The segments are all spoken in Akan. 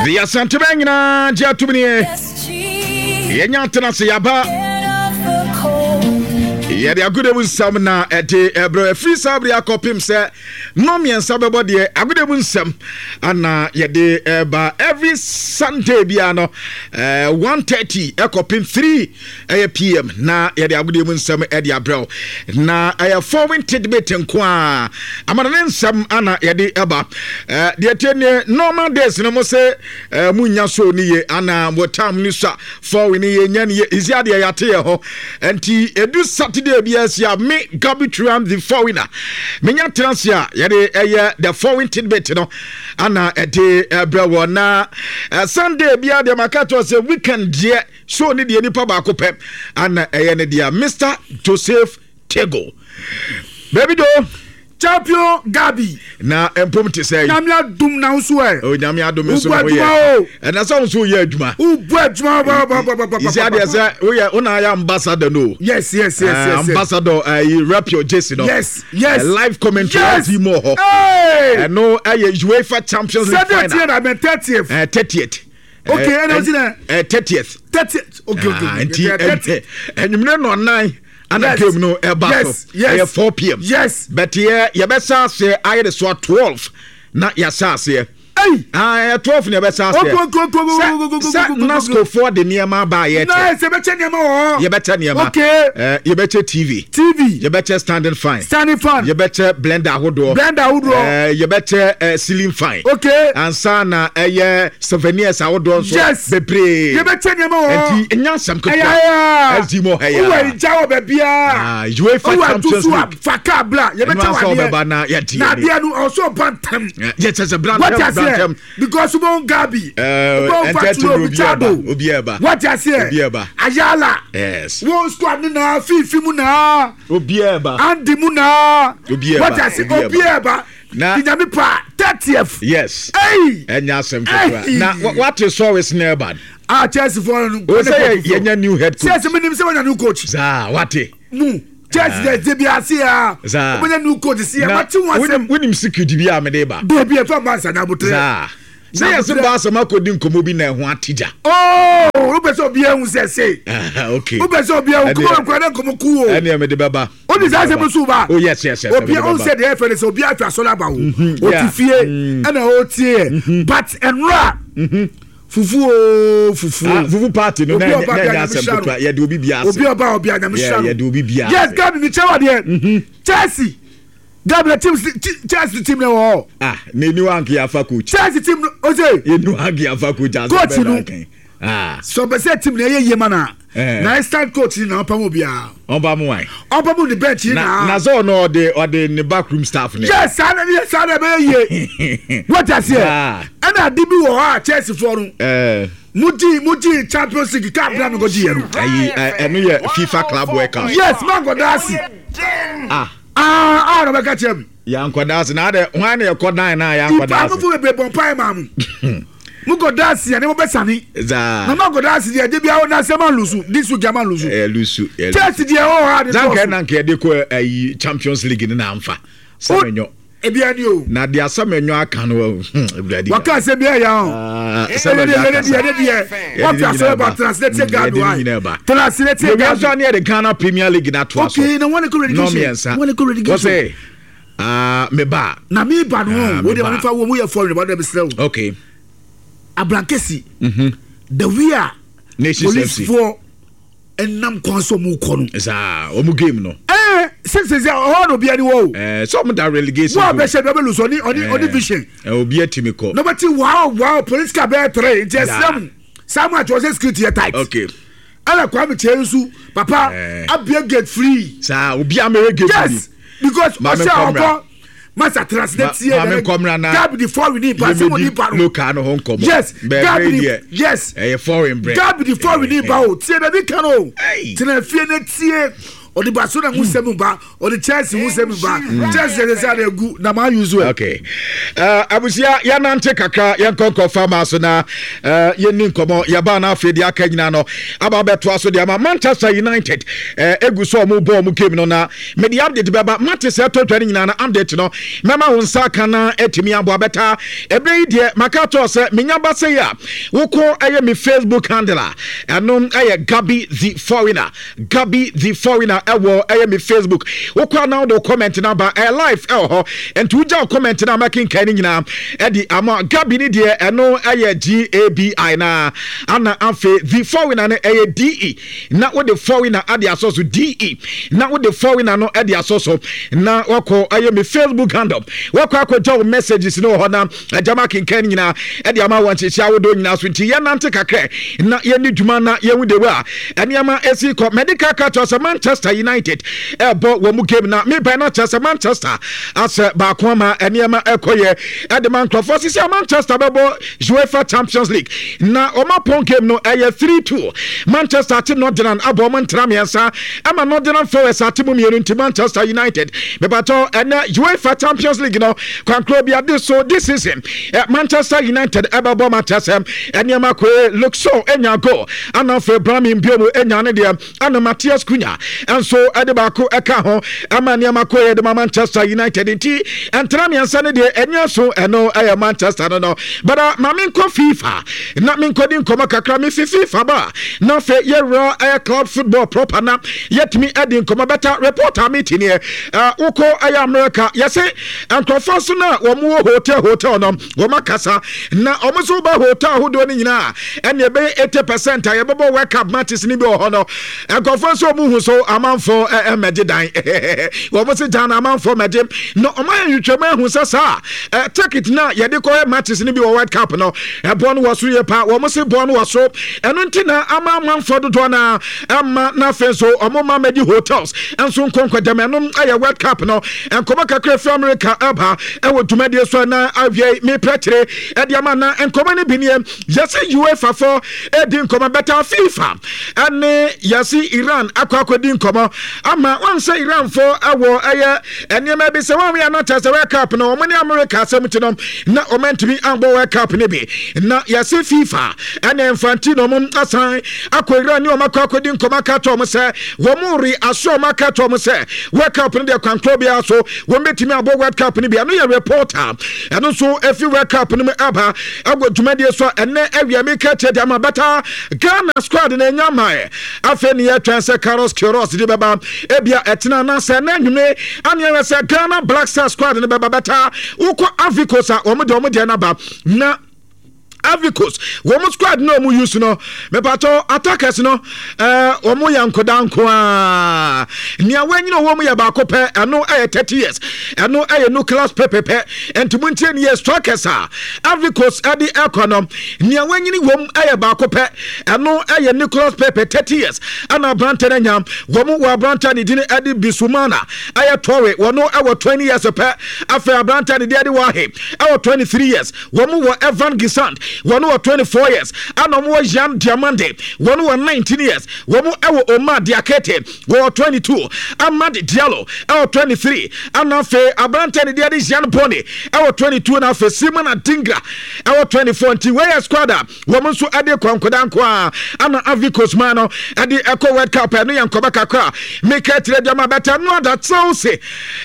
De Asantema nyinaa gye atom nie. Yɛnya atena ase yɛaba. Yɛde agoda mu nsɛm na ɛde ɛbrɛ ɛfiri saa bere akɔpem sɛ nnɔ mmiɛnsa bɛbɔ deɛ agoda mu nsɛm ana yɛde ɛba every Sunday biara no 1:30 ɛkɔpem 3 ɛyɛ pm na yɛde agodie mu nsɛm ɛde abrɛw na ɛyɛ foreign tidbit nko a amana ne nsɛm ana yɛde ɛba deɛ tie ne normal days no mo sɛ mo nya so ne ye ana mo time ne sa foreign ne ye nya ne ye isi adeɛ yɛate yɛ hɔ nti edu Saturday bi asi a me Gabi Turam the foreigner menya tena se a yɛde ɛyɛ the foreign tidbit no ana ɛde ɛbrɛ wɔ na Sunday bi a deɛ maka to sɛ weekend deɛ Show ne deɛ nipa baako pɛ ana ɛyɛ ne deɛ Mr Joseph Tego. Baby do. Champion Gabi. Na mpom te sɛ. Nyame adum na nso ɛ. O nyame adum nso na woyɛ. Ɛna sɛ nso woyɛ adwuma. Wobɔ adwuma ba ba ba ba ba. Isi adeɛ sɛ woyɛ wona ayɛ ambassador no. Yes yes yes yes. Ambassador ayi rep your jersey no. Yes yes. Live commentary yes. Di mu hɔ. Ɛno ɛyɛ UEFA Champions League final. Sɛdeɛ tiɛ na bɛn 30th. 30th. Okay, ɛna ɔsi dɛ. Ɛ 30th. 30th. Okay, okay. Ah, nti ɛnwumire nɔ nan ana game no ɛba so. Ɛyɛ 4 pm. Yes. But yɛ yɛbɛsa aseɛ ayɛ de so a 12 na yɛasa aseɛ. Ɛyi. Ah, ɛyɛ 12 na yɛbɛsa aseɛ. Okay. Sɛ NASCO foɔ de nneɛma aba a yɛkyɛ. Na ɛsɛ yɛbɛkyɛ nneɛma wɔ hɔ. Yɛbɛkyɛ nneɛma. Okay. Ɛɛ yɛbɛkyɛ TV. TV. Yɛbɛkyɛ standing fan. Standing fan. Yɛbɛkyɛ blender ahodoɔ. Blender ahodoɔ. Ɛɛ yɛbɛkyɛ ɛɛ ceiling fan. Okay. Ansa na ɛyɛ souvenirs ahodoɔ nso. Yes. Bebree. Yɛbɛkyɛ nneɛma wɔ hɔ. Nti nya nsɛm ketewa. Ɛyɛ ayɛ. SD mu hɛ ya. Wowɔ egya wɔ baabiara. Ah, UEFA Champions League. Fa kaa bla. Yɛbɛkyɛ wɔ adeɛ. Ɛnu asɛ ɔbɛba na yɛdi. Na adeɛ no ɔsɔ ba ntɛm. Yɛ kyɛ sɛ bra ntɛm bra ntɛm. Because wobɛhu Gabi. Wobɛhu Faturo Richardo. Obi ɛba. Wate aseɛ. Obi ɛba. Ayala. Yes. Wo squad ne naa Fifi mu naa. Obi ɛba. Andy mu naa. Obi ɛba. Wate aseɛ obi ɛba. Na nyame pa 30th. Yes. Hey. Ɛnyɛ asɛm ketewa. Na wate sɔres na ɛba. Ah, Chelsea fo no. O sɛ yɛnya new head coach. Chelsea mi nim sɛ wɔnya new coach. Saa wate. Mu. Chelsea dɛ de bi ase ya. Saa. Wɔnya new coach si ya. Mate wɔn asɛm. Wonim secret bi a mede ba. Debi ɛfɛ ba nsa na abotere. Saa. Sɛ yɛsɛ ba asɛm akɔdi nkɔmmɔ bi na ɛho ate gya. Oh, wopɛ sɛ obiara hu sɛ sei. Okay. Wopɛ sɛ obiara hu kɔmɔ nkura ne nkɔmɔ ku o. Ɛneɛ mede bɛba. O de saa asɛm so ba. Oh yes yes yes. Obiara ɔn sɛ deɛ ɛfɛ ne sɛ obiara atwa asɔre aba wo. Ɔte fie ɛna ɔtie yɛ. But ɛnora fufu o fufu. Ah, fufu party no na ɛnyɛ asɛm ketewa yɛde obi bia ase. Obi ɔba obi anyame hyira no. Yɛde obi bia ase. Yes, Gabi mi kyɛ wa deɛ. Chelsea. Gabi na team Chelsea team na wɔ hɔ. Ah, na eni wa nke afa coach. Chelsea team no o se. Eni wa nke afa coach ase coach no. Ah. So bɛ sɛ team na ɛyɛ yie ma na. Eh. Na instant coach ni na ɔpam obiara. Ɔpam wan. Ɔpam ne bench ni na. Na sɛ ɔno ɔde ɔde ne backroom staff ne. Yes, saa na yɛ saa na ɛbɛyɛ yie. Wọ́n ti aseɛ. Ɛna adi bi wɔ hɔ a Chelsea foɔ no. Eh. Mo gyi mo gyi Champions League cup na mi ko gyi yɛ no. Ayi ɛno yɛ FIFA Club World Cup. Yes, man kɔ daasi. Ah. Ah, ah, na ɔbɛka kyerɛ mi. Yankɔ daasi na adɛ hwan na yɛkɔ dan na yankɔ daasi. Ipa mo bebree bɔ mpae maa mo. Mo kɔ daasi ɛne mo bɛ sani. Zaa. Na mo kɔ daasi deɛ ɛde bi awo na sɛ ma lusu this week ama lusu. Ɛyɛ lusu. Chelsea deɛ ɔwɔ ha de tɔɔso. Zanka na nka yɛde kɔ ɛyi Champions League ne na anfa. Sɛmɛnyɔ. Ebi ani o. Na deɛ asɛmɛnyɔ aka no ewurade. Waka asɛm bi ɛyà o. Sɛmɛnyɔ akasa. Ɛyɛ deɛ wɔfi asɔrɔ ba tena ase tie Gabi wa. Tena ase tie Gabi. Yɛwia nso ani yɛde Ghana Premier League na to aso. Okay, na wɔn kɔ relegation. Wɔn kɔ relegation. Wɔsɛ aa me ba. Na mi ba no o de ma mi fa wo mu yɛ fɔrin ba de mi srɛ o. Okay. Abrankesi. The we are. Nations FC. Police ɛnam kwan so ɔmo kɔ no. Saa ɔmo game no. Ɛɛ sɛ sɛ ɔhɔ na obi ani wɔ o. Ɛɛ sɛ ɔmo da relegation. Wo a bɛhyɛ bi ɔbɛ lusu ɔni ɔni ɔni vision. Ɛɛ obi atimi kɔ. Na ɔbɛti wow wow police car bɛyɛ tere nti ɛsrɛ mu saa mu atwɔ sɛ security yɛ tight. Okay. Ɛna Kwame Kyei nso papa abie gate free. Saa obi amere gate. Yes because ɔhyɛ ɔkɔ masa translate tie maame nkɔmra na gabi di foreign ni ba sɛ mo ni ba no local no ho nkɔmɔ yes gabi di yes ɛyɛ foreign brɛ gabi di foreign ni ba o tie na bi kan o tena fie na tie. Ɔde Barcelona ho nsɛm ba, ɔde Chelsea ho nsɛm ba. Chelsea yɛ sɛ ade agu na maa use ɛ. Okay. Abusua yɛnante kakra yɛnkɔ nkɔfa maa so na yɛnni nkɔmmɔ yɛbaa no afei deɛ aka nyinaa no aba abɛtoa so deɛ ama Manchester United egu so ɔmo bɔ ɔmo game no na mede update bɛba mate sɛ ɛtɔ dwa no nyinaa na update no mɛma wo nsa aka na atumi aboa bɛtaa ɛberɛ yi deɛ maka kyɛw sɛ menya ba sɛ yi a wokɔ ɛyɛ me Facebook handle a ɛno ɛyɛ Gabi the Foreigner. Gabi the foreigner ɛwɔ ɛyɛ me Facebook wokɔ a na wode comment no aba ɛyɛ live ɛwɔ hɔ nti wogya wo comment no a mɛkenkan no nyinaa ɛde ama Gabi ne deɛ ɛno ɛyɛ G-A-B-I na ana afei the foreigner no ɛyɛ D-E na wode foreigner ade asɔ so D-E na wode foreigner no ɛde asɔ so na wakɔ ɛyɛ me Facebook handle wakɔ akɔgya wo messages no wɔ hɔ na Agya ma akenkan no nyinaa de ama wɔ nhyehyɛ ahodoɔ nyinaa so nti yɛnante kakra na yɛnni dwuma na yɛhu de a nneɛma ɛsi kɔ. Mɛde ka ka kyerɛ sɛ Manchester United ɛbɔ wɔn mu game na mebɛn no kyerɛ sɛ Manchester asɛ baako ama nneɛma ɛkɔ yɛ ɛde ma nkurɔfoɔ sisi a Manchester bɛbɔ UEFA Champions League na wɔn apɔn game no ɛyɛ 3-2 Manchester ate Northern abɔ wɔn ntra mmiɛnsa ɛma Northern Forest ate mu mmienu nti Manchester United mepatɔ ɛnɛ UEFA Champions League no Kwankoro bi ade so this season eh, Manchester United ɛbɛbɔ Manchester nneɛma koe Luke Shaw enya goal ana afei Brahim Mbeumo enya ne deɛ ana Matheus Cunha nso ɛde baako ɛka ho ama nneɛma koe ɛde ma Manchester United nti ɛntena mmiɛnsa ne deɛ ɛnyɛ so ɛno ɛyɛ Manchester no no bada ma menkɔ FIFA na menkɔdi nkɔmmɔ kakra mefi FIFA ba na afei yɛwura ɛyɛ club football proper na yɛtumi ɛdi nkɔmmɔ bɛta reporter meeting yɛ wokɔ ɛyɛ America yɛse Nkurɔfoɔ nso no a wɔn wɔ hotel hotel no wɔn akasa na wɔn nso ba hotel ahodoɔ no nyinaa ɛna ɛbɛyɛ 80% a yɛbɛbɔ World Cup matches no bi wɔ hɔ no nkurɔfoɔ nso wɔn hu so amanfoɔ ɛmɛgye dan wɔn nso gyan amanfoɔ mɛgye na wɔn ayɛ nhwehwɛmu ahu sɛ saa ticket na yɛde kɔyɛ matches no bi wɔ World Cup no ɛboɔ no wɔ soro yɛ paa wɔn se boɔ no wɔ soro ɛno nti na ama amanfoɔ dodoɔ no ɛma na afei nso wɔn ma mɛgye hotels nso nkɔnkɔdɛm ɛno ɛyɛ World Cup no Nkɔmmɔ kakra fi Amerika ɛba ɛwɔ dwumadie so na awiei meprɛkyere ɛde ama na nkɔmmɔ no bi nie. Yɛse UEFA fo ɛdi nkɔmmɔ bɛta FIFA ɛne yɛse Iran akɔ akɔdi nkɔmmɔ ama wɔn sɛ Iran fo ɛwɔ ɛyɛ nneɛma bi sɛ wɔn yɛ no kyɛ sɛ World Cup no wɔn ne Amerika asɛm ti no na wɔn antumi ambɔ World Cup no bi na yɛse FIFA ɛne Infantino wɔn asan akɔ Iran ne wɔn akɔ akɔdi nkɔmmɔ aka kyerɛ wɔn sɛ wɔn re aso wɔn aka kyerɛ wɔn sɛ World Cup no deɛ kwankorɔ biara so wɔn bɛtumi abɔ World Cup no bi. Ɛno yɛ report a ɛno nso efi World Cup no mu aba ɛwɔ dwumadie so a ɛnɛ awia mi ka kyerɛ deɛ ama bɛta Ghana squad na enya mae. Afei ne yɛtwɛn sɛ Carlos Queiroz de bɛba ebia ɛtena anaasɛ ɛnɛ anwumere ane ɛwɛ sɛ Ghana Black Star squad no bɛba bɛta wokɔ Ivory Coast a wɔn deɛ wɔn deɛ no aba na Ivory Coast wɔn squad na wɔn use no mepatɔ attackers no ɛɛ wɔn yɛ nkoda nko ara nea wɔanyina wɔn mu yɛ baako pɛ ɛno ɛyɛ 30 years ɛno ɛyɛ nucleus pɛpɛpɛ nti mo ntie ne yɛ strikers a Ivory Coast ɛde ɛkɔ no nea wɔanyini wɔn ɛyɛ baako pɛ ɛno ɛyɛ Nicholas Pepe 30 years ɛna aberante no anya wɔn wɔ aberante ne din ɛde Bisumana ɛyɛ Torre wɔn ɛwɔ 20 years pɛ afei aberante ne deɛ ɛde Wahe ɛwɔ 23 years Wɔn wɔ Evan Guessand, wɔn wɔ 24 years, ɛna wɔn wɔ Yan Diamande, wɔn wɔ 19 years, wɔn wɔ Omar Diakete, wɔwɔ 22, Amad Diallo ɛwɔ 23, ɛna afei aberante ne deɛ de Jean Boni ɛwɔ 22, na afei Simon Adingra ɛwɔ 24. Nti wei yɛ squad a wɔn nso ɛde kɔ nkoda nko a ɛna Ivory Coast man no ɛde ɛkɔ World Cup. Ɛno yɛ nkɔmɔ kakra meka tire deɛ ma bɛtɛ ɛno ada Chelsea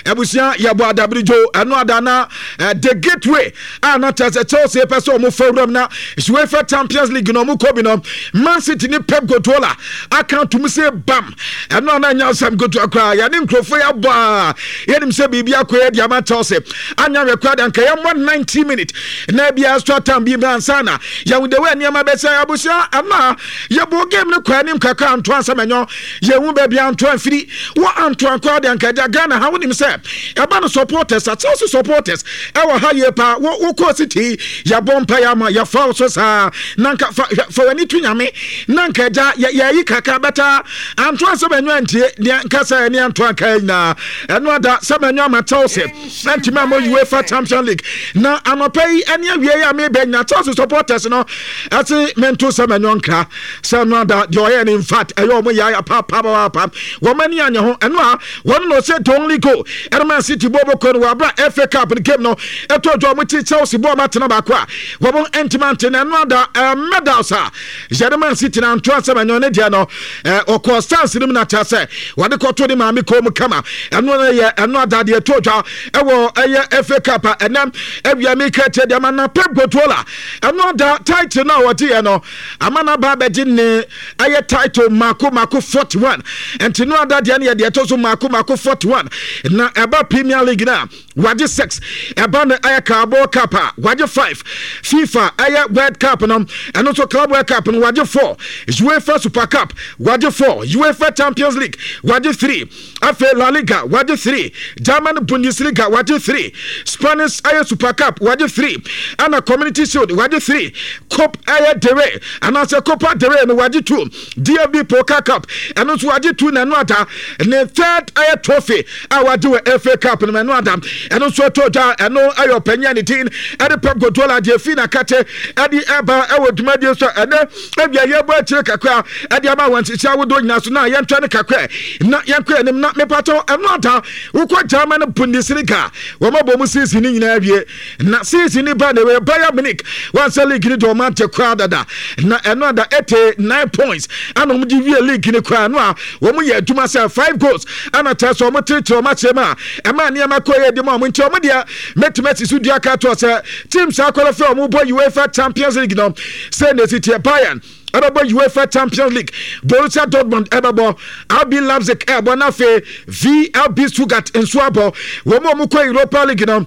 abusua yɛbɔ adabirijo ɛno ada na the gateway a na kyerɛ sɛ Chelsea pɛ sɛ wɔn fa wuram na UEFA Champions League na wɔn kɔ bi no Man City ne Pep Guardiola aka atum sɛ bam ɛno a na anya asɛm ketewa koraa yɛne nkurɔfoɔ yɛ abɔ a yɛnim sɛ biribi akɔ yɛ de ama Chelsea anya wɛ koraa de anka yɛmmɔ 90 minutes na ebi extra time bi mmerɛ ansa na yɛhu de wɔ nneɛma bɛsɛ abusua ɛno a yɛbɔ game no kɔ anim kakra anto asɛm ɛnyɔ Yɛhu baabi Antoine firi. Wɔ Antoine koraa de anka agya Ghana ha wonim sɛ ɛba no supporters a Chelsea supporters ɛwɔ ha yie paa. Wo wokɔɔ City yɛabɔ mpaeɛ ama yɛ. afa wo so saa na nka fa fa w'ani to Nyame na nka agya yɛyi kakra bɛta Antoine Semenyo antie nea nka sɛ ɛne Antoine ka nyinaa. Ɛno ada Semenyo ama Chelsea antumi ammɔ UEFA Champions League na anɔpa yi ɛne awie yi a mebɛ nyina Chelsea supporters no ɛse mento Semenyo nkra sɛ ɛno ada deɛ ɔyɛ no in fact ɛyɛ ɔmo yaya papapaapa wɔn ani anyɛ ho. Ɛno a wɔn na ɔsɛ the only goal ɛno Man City bɔ bɔkɔ no wɔ abira FA Cup no game no ɛtɔ dwa wɔn ti Chelsea bɔ wɔn atena baako a wɔn ntoma nte na ɛno ada medals a yɛde Man City na nto asɛm ɛnyɛ ne deɛ no ɔkɔ stance no mu na kyerɛ sɛ wɔde kɔto ne maame kɔn mu kama. Ɛno no yɛ ɛno ada deɛ ɛtɔ dwa ɛwɔ ɛyɛ FA Cup a ɛnɛ awia mi ka kyerɛ deɛ ma na Pep Guardiola ɛno ada title no a wɔgye yɛ no ama no aba abɛgye ne ɛyɛ title mako mako 41. Nti no ada deɛ no yɛ deɛ ɛtɔ so mako mako 41 na ɛba Premier League no a wagye 6, ɛba no ɛyɛ Carabao Cup a wagye 5, FIFA ɛyɛ World Cup no ɛno nso Club World Cup no wagye 4, UEFA Super Cup wagye 4, UEFA Champions League wagye 3, afei La Liga wagye 3, German Bundesliga wagye 3, Spanish ɛyɛ Super Cup wagye 3, ɛna Community Shield wagye 3, Cop ɛyɛ Del anaasɛ Copa del Rey no wagye 2, DFB Pokal Cup ɛno nso wagye 2, na ɛno ada ne third ɛyɛ trophy a wagye wɔ FA Cup no ɛno ada ɛno nso ɛtɔ dwa. Ɛno ɛyɛ ɔpanyin a ne din ɛde Pep Guardiola deɛ fi n'akate ɛde ɛba ɛwɔ dwumadie so. Ɛnɛ ebia yɛbɔ akyire kakra ɛde ama wɔn nhyehyɛ ahodoɔ nyinaa so na yɛntwa ne kakra na yɛnkɔ anim na mepatɔ. Ɛno ada wokɔ German Bundesliga, wɔn abɔ mu season ne nyinaa awie na season ne ba na ɛwɔ Bayern Munich wɔn sɛ league ne deɛ wɔn ante koraa dada na ɛno ada 89 points ɛna wɔn de wie league ne koraa no a wɔn yɛ adwuma sɛ 5 goals ɛna kyerɛ sɛ wɔn teretere wɔn akyerɛ mu a ɛma nneɛma kɔ yɛ di mu a wɔn nti wɔn deɛ mɛtumi asi so dua ka toɔ sɛ teams akɔlɔfɛ wɔn bɔ UEFA Champions League no sɛ na esi teɛ. Bayern ɛbɛbɔ UEFA Champions League, Borussia Dortmund ɛbɛbɔ, RB Leipzig ɛbɔ, na afei VfB Stuttgart nso abɔ. Wɔn a wɔkɔ Europa League no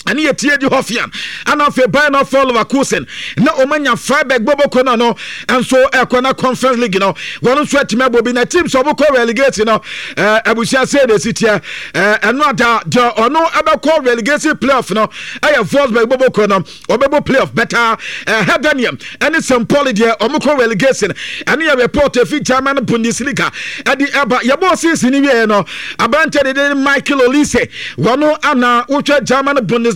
ɛne yɛ tie di Hoffenheim ɛna afei Bayern of Leverkusen na wɔn anya Freiburg bɔbɔkɔ no no nso ɛkɔ na Conference League no wɔn nso atumi abɔ bi. Na teams a wɔkɔ relegation no abusua sɛ na esi teɛ. Ɛno ada deɛ ɔno ɛbɛkɔ relegation playoff no ɛyɛ Wolfsburg bɔbɔkɔ no, ɔbɛbɔ playoff bɛta. Heidenheim ɛne St Pauli deɛ ɔmo kɔ relegation. Ɛne yɛ report efi German Bundesliga ɛde ɛba. Yɛbɔ season ni wieɛ no, aberante de de Michael Olise wɔn ana wotwa German Bundesliga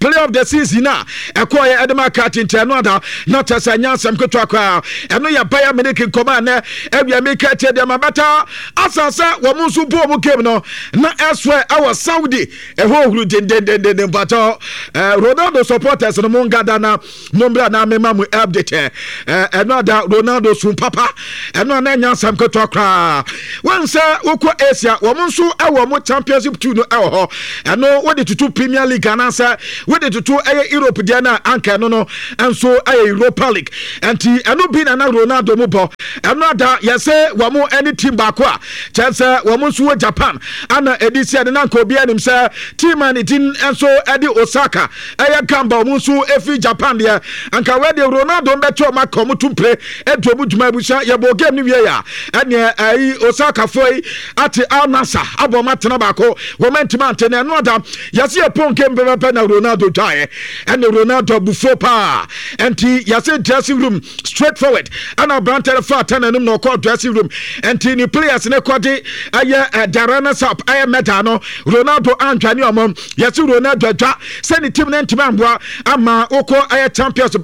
player of the season a ɛkɔɔyɛ ɛde ma aka tenten. Ɛno ada na kyɛ sɛ nyɛ asɛm ketewa koraa. Ɛno yɛ Bayern Munich nkɔmɔ a nɛ awia mi ka kyɛ deɛ ma bɛta asa sɛ wɔn nso bɔ wɔn game no na ɛsoɛ ɛwɔ Saudi ɛhɔ ohuru dendendenden. Mpatɔ Ronaldo supporters no mo ngada na mo mbra na mema mo update. Ɛno ada Ronaldo sun papa, ɛno ana nya asɛm ketewa koraa. Wɔn sɛ wokɔ Asia, wɔn nso ɛwɔ mo Championship 2 no ɛwɔ hɔ. Ɛno wode tutu Premier League anaasɛ wode tutu ɛyɛ Europe deɛ no a anka ɛno no nso ɛyɛ Europa League, nti ɛno bi na na Ronaldo mu bɔ. Ɛno ada yɛsɛ wɔn ɛne team baako a kyerɛ sɛ wɔn nso wɔ Japan ana ɛdi sɛ ɛde na nka obi anim sɛ team a ne din nso ɛde Osaka ɛyɛ Gamba, wɔn nso ɛfiri Japan deɛ anka wɔde Ronaldo mbɛkyɛ wɔn aka wɔn tumpere ɛdi wɔn dwuma. Abusua, yɛbɔ game no wie a ɛneɛ ɛyi Osakafoɔ yi ate Al Nassr abɔ wɔn atena baako, wɔn antimi ante. Na ɛno ada yɛsɛ yɛ pɔn game pɛpɛpɛ na Ronaldo dwaeɛ, ɛne Ronaldo abufuo paa, ɛnti yɛsɛ dressing room straight forward ɛna aberante no fa ata n'anim na ɔkɔ dressing room, ɛnti ne players ne kɔde ɛyɛ ɛda runners up ɛyɛ medal no, Ronaldo antwane ɔmo. Yɛsɛ Ronaldo adwa sɛ ne team no ntumi amboa ama wokɔ ɛyɛ Champions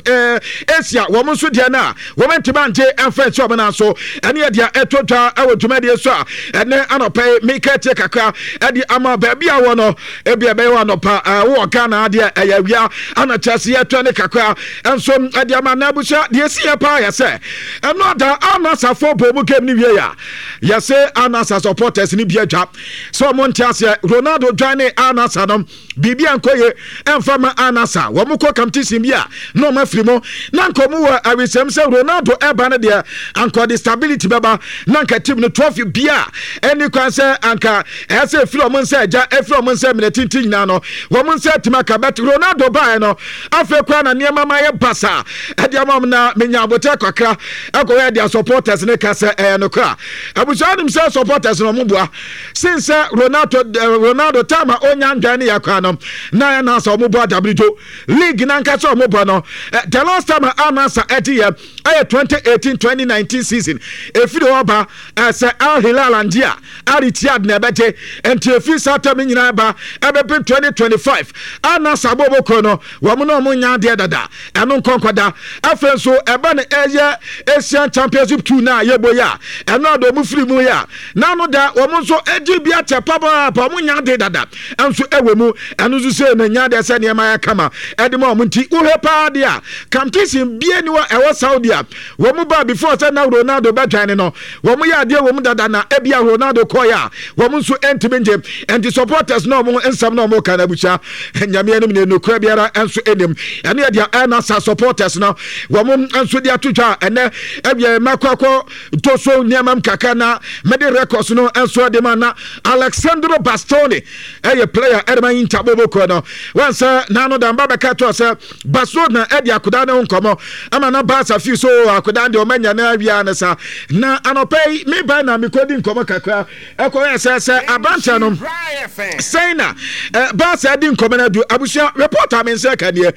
Asia, wɔn nso deɛ no a wɔn ntumi angye ɛmfa nsi wɔn nan so. Ɛne yɛ deɛ ɛtɔ dwa ɛwɔ dwumadie so a ɛnɛ anɔpɛ yi meka tie kakra ɛde ama baabi a wɔ no ebi ɛbɛyɛ wɔ anɔpa wɔ Ghana adeɛ ɛyɛ awia ana kyerɛ sɛ yɛtɔ ne kakra nso ɛde ama. Na abusua, deɛ esi yɛ paa yɛ sɛ ɛno ada Anasafo bɔ mu game ne wie a yɛsɛ Anasa supporters ne bi adwa sɛ ɔmo nte aseɛ Ronaldo dwan ne Anasa no biribi ankɔ ye ɛmfa ma Anasa. Wɔn kɔ competition bi a na wɔn afiri mu na nka wɔn wɔ awisɛm sɛ Ronaldo ɛba no deɛ anka ɔde stability bɛba na nka team no trophy bi a ɛni kwan sɛ anka ɛsɛ efiri wɔn nsa agya efiri wɔn nsa mìíràn tintin nyinaa no wɔn nsa. nsa atumi aka, but Ronaldo baeɛ no afei koraa na nneɛma ma yɛ basa ɛde ama m na menya abotɛ kakra ɛkɔyɛ deɛ supporters ne ka sɛ ɛyɛ nokora. Abusua nim sɛ supporters no ɔmo boa sen sɛ Ronaldo Ronaldo time a onya ndwan ne yɛ koraa no na ɛna sɛ ɔmo bɔ adabridwo league nankasa ɔmo bɔ no. The last time a Al-Nassr ɛgye yɛ ɛyɛ 2018-2019 season. Efiri hɔ ba sɛ Al Hilal angye a, Al Ittihad na ɛbɛgye. Nti efiri saa tam no nyinaa ba ɛbɛpem 2025 Al-Nassr abɔbɔkuo no wɔn na wɔn nya adeɛ dada, ɛno nkɔnkɔda. Afei nso ɛba no ɛyɛ Asian Championship 2 na yɛbɔ yi a, ɛno a de wɔn firi mu yi a na ano da wɔn nso agye bi akyɛ papaapa, wɔn nya ade dada nso ɛwɔ mu. Ɛno nso sɛ na nya adeɛ sɛ nneɛma yɛ kama ɛde ma wɔn. Nti wohwɛ paa deɛ a, competition bie ni wɔ ɛwɔ Saudi a wɔn ba before sɛ na Ronaldo bɛdwan ne no, wɔn yɛ adeɛ wɔ mu dada, na ebia Ronaldo kɔɛ a wɔn nso ntumi ngye. Nti supporters na wɔn nsɛm na wɔn ka na abusua nyame anim ne nokura biara nso anim. Ɛno yɛ deɛ ɛna sa supporters no wɔn nso de ato dwa. Ɛnɛ ɛwiɛ mɛkɔ akɔ to so nneɛma mu kakra na mɛde records no nso de ma. Na Alexandro Bastoni ɛyɛ player ɛde ma Inter boboko no wɔn sɛ n'ano da mba bɛka to sɛ Barcelona ɛde akoda ne ho nkɔmɔ ama na Barca fi so akoda deɛ ɔmanya no awia ne sa. Na anɔpɛ yi me ba na mekɔdi nkɔmɔ kakra ɛkɔyɛ sɛ aberanteɛ no sɛn na Barca di nkɔmɔ no adu. Abusua reporter me nsɛ ka neɛ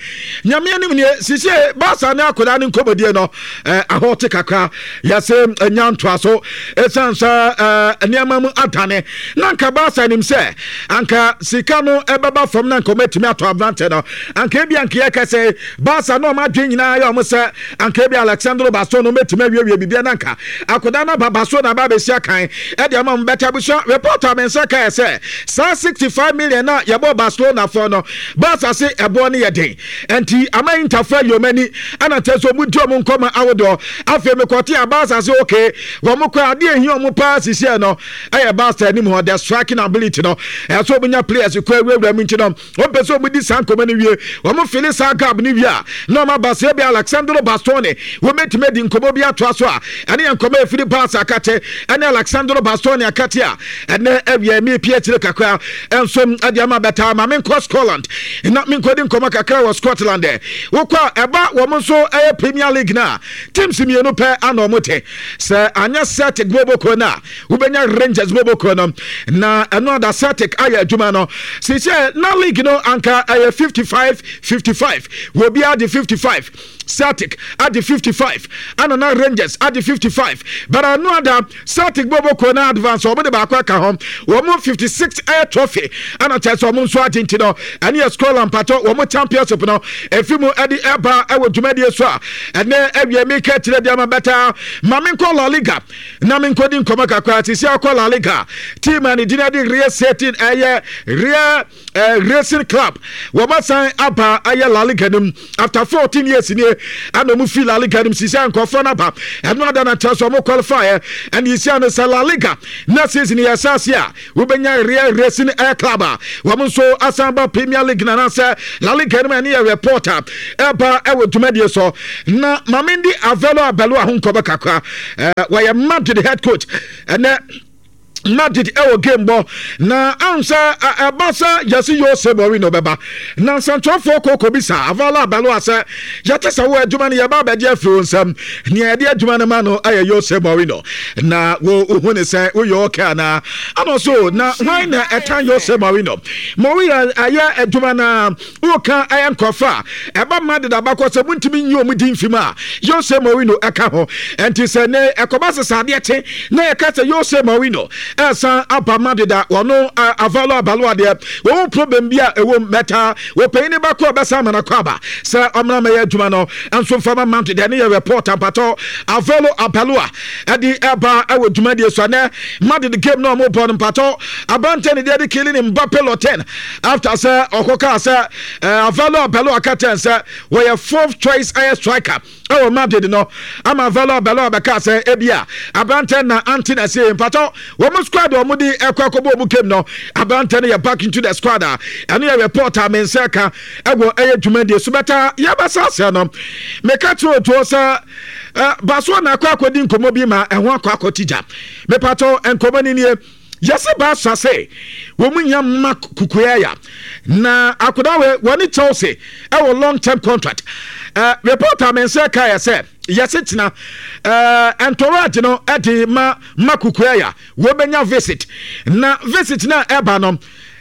nyame anim nie sisie Barca ne akoda ne nkɔmɔdie no ahɔ te kakra yɛsɛ nya ntoa so ɛsiane sɛ nneɛma mu adane na anka Barca nim sɛ anka sika no ɛbɛba fam na anka ɔmatumi atɔ aberante no. Anka ebi anka yɛka sɛ Barca na ɔma adwene nyinaa yɛ ɔmo sɛ anka ebi Alexandro Baston no mɛtumi awiewie biribiara na anka akoda no aba Baston na aba abɛsi akan ɛde ama ɔmo. Bɛtɛ abusua reporter me nsa kae sɛ saa 65 million na yɛbɔ Barcelona fɔ no, Barca se ɛboɔ no yɛ den nti ama Interfo ayi ɔmo ani ɛna kyerɛ sɛ ɔmo di ɔmo nkɔmɔ ahodoɔ. Afei mekɔte a Barca se okay, wɔn kɔ adeɛ ehia ɔmo paa sisiɛ no ɛyɛ Barca anim hɔ the striking ability no, ɛsɛ ɔmo nya players kɔ awurawura mu nti no wɔn pɛ sɛ ɔmo di saa nkɔmɔ no wie, wɔn fili saa gap no wie a na ɔmo aba sɛ ebi Alexandro Bastoni wɔn bɛtumi adi nkɔmɔ bi atoa so a ɛne yɛn nkɔmɔ efiri Barca akate ɛne Alexandro Bastoni akate a ɛnɛ awia mi pie akyire kakra nso ɛde ama bɛtaa. Ma menkɔ Scotland na menkɔdi nkɔmɔ kakra wɔ Scotland. Ɛ wokɔ a ɛba wɔn nso ɛyɛ Premier League na teams mmienu pɛ ana wɔn te sɛ anyɛ Celtic boboko no a wobɛnya Rangers boboko no na ɛno ada Celtic ayɛ adwuma no sisɛ na league no anka ɛyɛ 55 55, wɔbiara de 55, Celtic ade 55 ana na Rangers ade 55, but ɛno ada Celtic boboko na advance wɔn de baako aka ho, wɔn 56 ɛyɛ trophy ana kyerɛ sɛ wɔn nso agye. Nti no ɛne yɛ Scotland mpatɔ wɔn championship no efi mu ɛde ɛba ɛwɔ dwumadie so a ɛnɛ ɛwiɛ mi ka kyerɛ deɛ ma bɛta. Ma mi nkɔ La Liga na mi nkɔ di nkɔmɔ kakra. Sisi akɔ La Liga, team a ne din ɛde Real Cetin ɛyɛ Real Racing Club, wɔn asan aba ayɛ La Liga nim after 14 years nie ɛna wɔn fi La Liga nim. Sisi a nkɔfoɔ no aba, ɛno ada na kyerɛ sɛ wɔn qualify ɛna yɛsi ano sɛ La Liga na season yɛ ɛsɛ ase a wobɛnya Real Racing Air Club a wɔn nso asan ba Premier League na anaasɛ La Liga no mu. Ɛne yɛ reporter ɛba ɛwɔ dwumadie so na maame ndi Avelo Abelo a ho nkɔbɔ kakra. Wɔyɛ Madrid head coach. Ɛnɛ Madrid ɛwɔ game bɔ na ansa ɛba sɛ yɛsi Jose Mourinho bɛba na nsɛntwerɛfoɔ kɔkɔ bi sa Avala Abalo sɛ yɛte sɛ wo adwuma no yɛba abɛgye afiri wo nsam, nea yɛde adwuma no ma no ɛyɛ Jose Mourinho na wo wohu ne sɛ woyɛ ɔkɛ anaa? Ana so na hwan na ɛtan Jose Mourinho? Mourinho ɛyɛ adwuma na woka ɛyɛ nkurɔfoɔ a ɛba Madrid abakɔ sɛ montumi nyi ɔmo din mfi mu a, Jose Mourinho ɛka ho. Ɛnti sɛ ne ɛkɔba sesa adeɛ kye na yɛka sɛ Jose Mourinho ɛsan aba Madrid a, wɔno Avalo Abalo adeɛ wɔn problem bi a ɛwɔ mu mɛta wɔpanyin ne bakɔ ɔbɛsan ama no akɔ aba sɛ ɔmmra mɛyɛ adwuma no nso mfama Madrid. Ɛne yɛ report ampatɔ Avalo Abalo a ɛde ɛba ɛwɔ dwumadie so. Ɛnɛ Madrid game na ɔmo bɔ no mpatɔ aberante ne deɛ de Kylian Mbappe Lottin after sɛ ɔkɔkaa sɛ Avalo Abelo aka kyɛn sɛ wɔyɛ fourth choice ɛyɛ striker ɛwɔ Madrid no ama Avalo Abelo abɛka sɛ ebia aberante na ante na ɛsɛ mpatɔ wɔn squad a wɔn de ɛkɔ akɔbɔ wɔn game no, aberante no yɛ back into the squad a ɛno yɛ report a me nsa ka ɛwɔ ɛyɛ dwumadie so. Bɛta yɛbɛsa asɛ no meka kyerɛ otuo sɛ basoɔ na akɔ akɔdi nkɔmmɔ bi ma ɛho akɔ akɔti gya. Mepatɔ nkɔmmɔ no nie. Yɛse Barca sɛ wɔn nya Marc Cucurella na akwadaa wei wɔne Chelsea ɛwɔ long term contract. Report a me nsa ka yɛ sɛ yɛse kyena entourage no ɛde ma Marc Cucurella wɔbɛnya visit na visit na ɛba no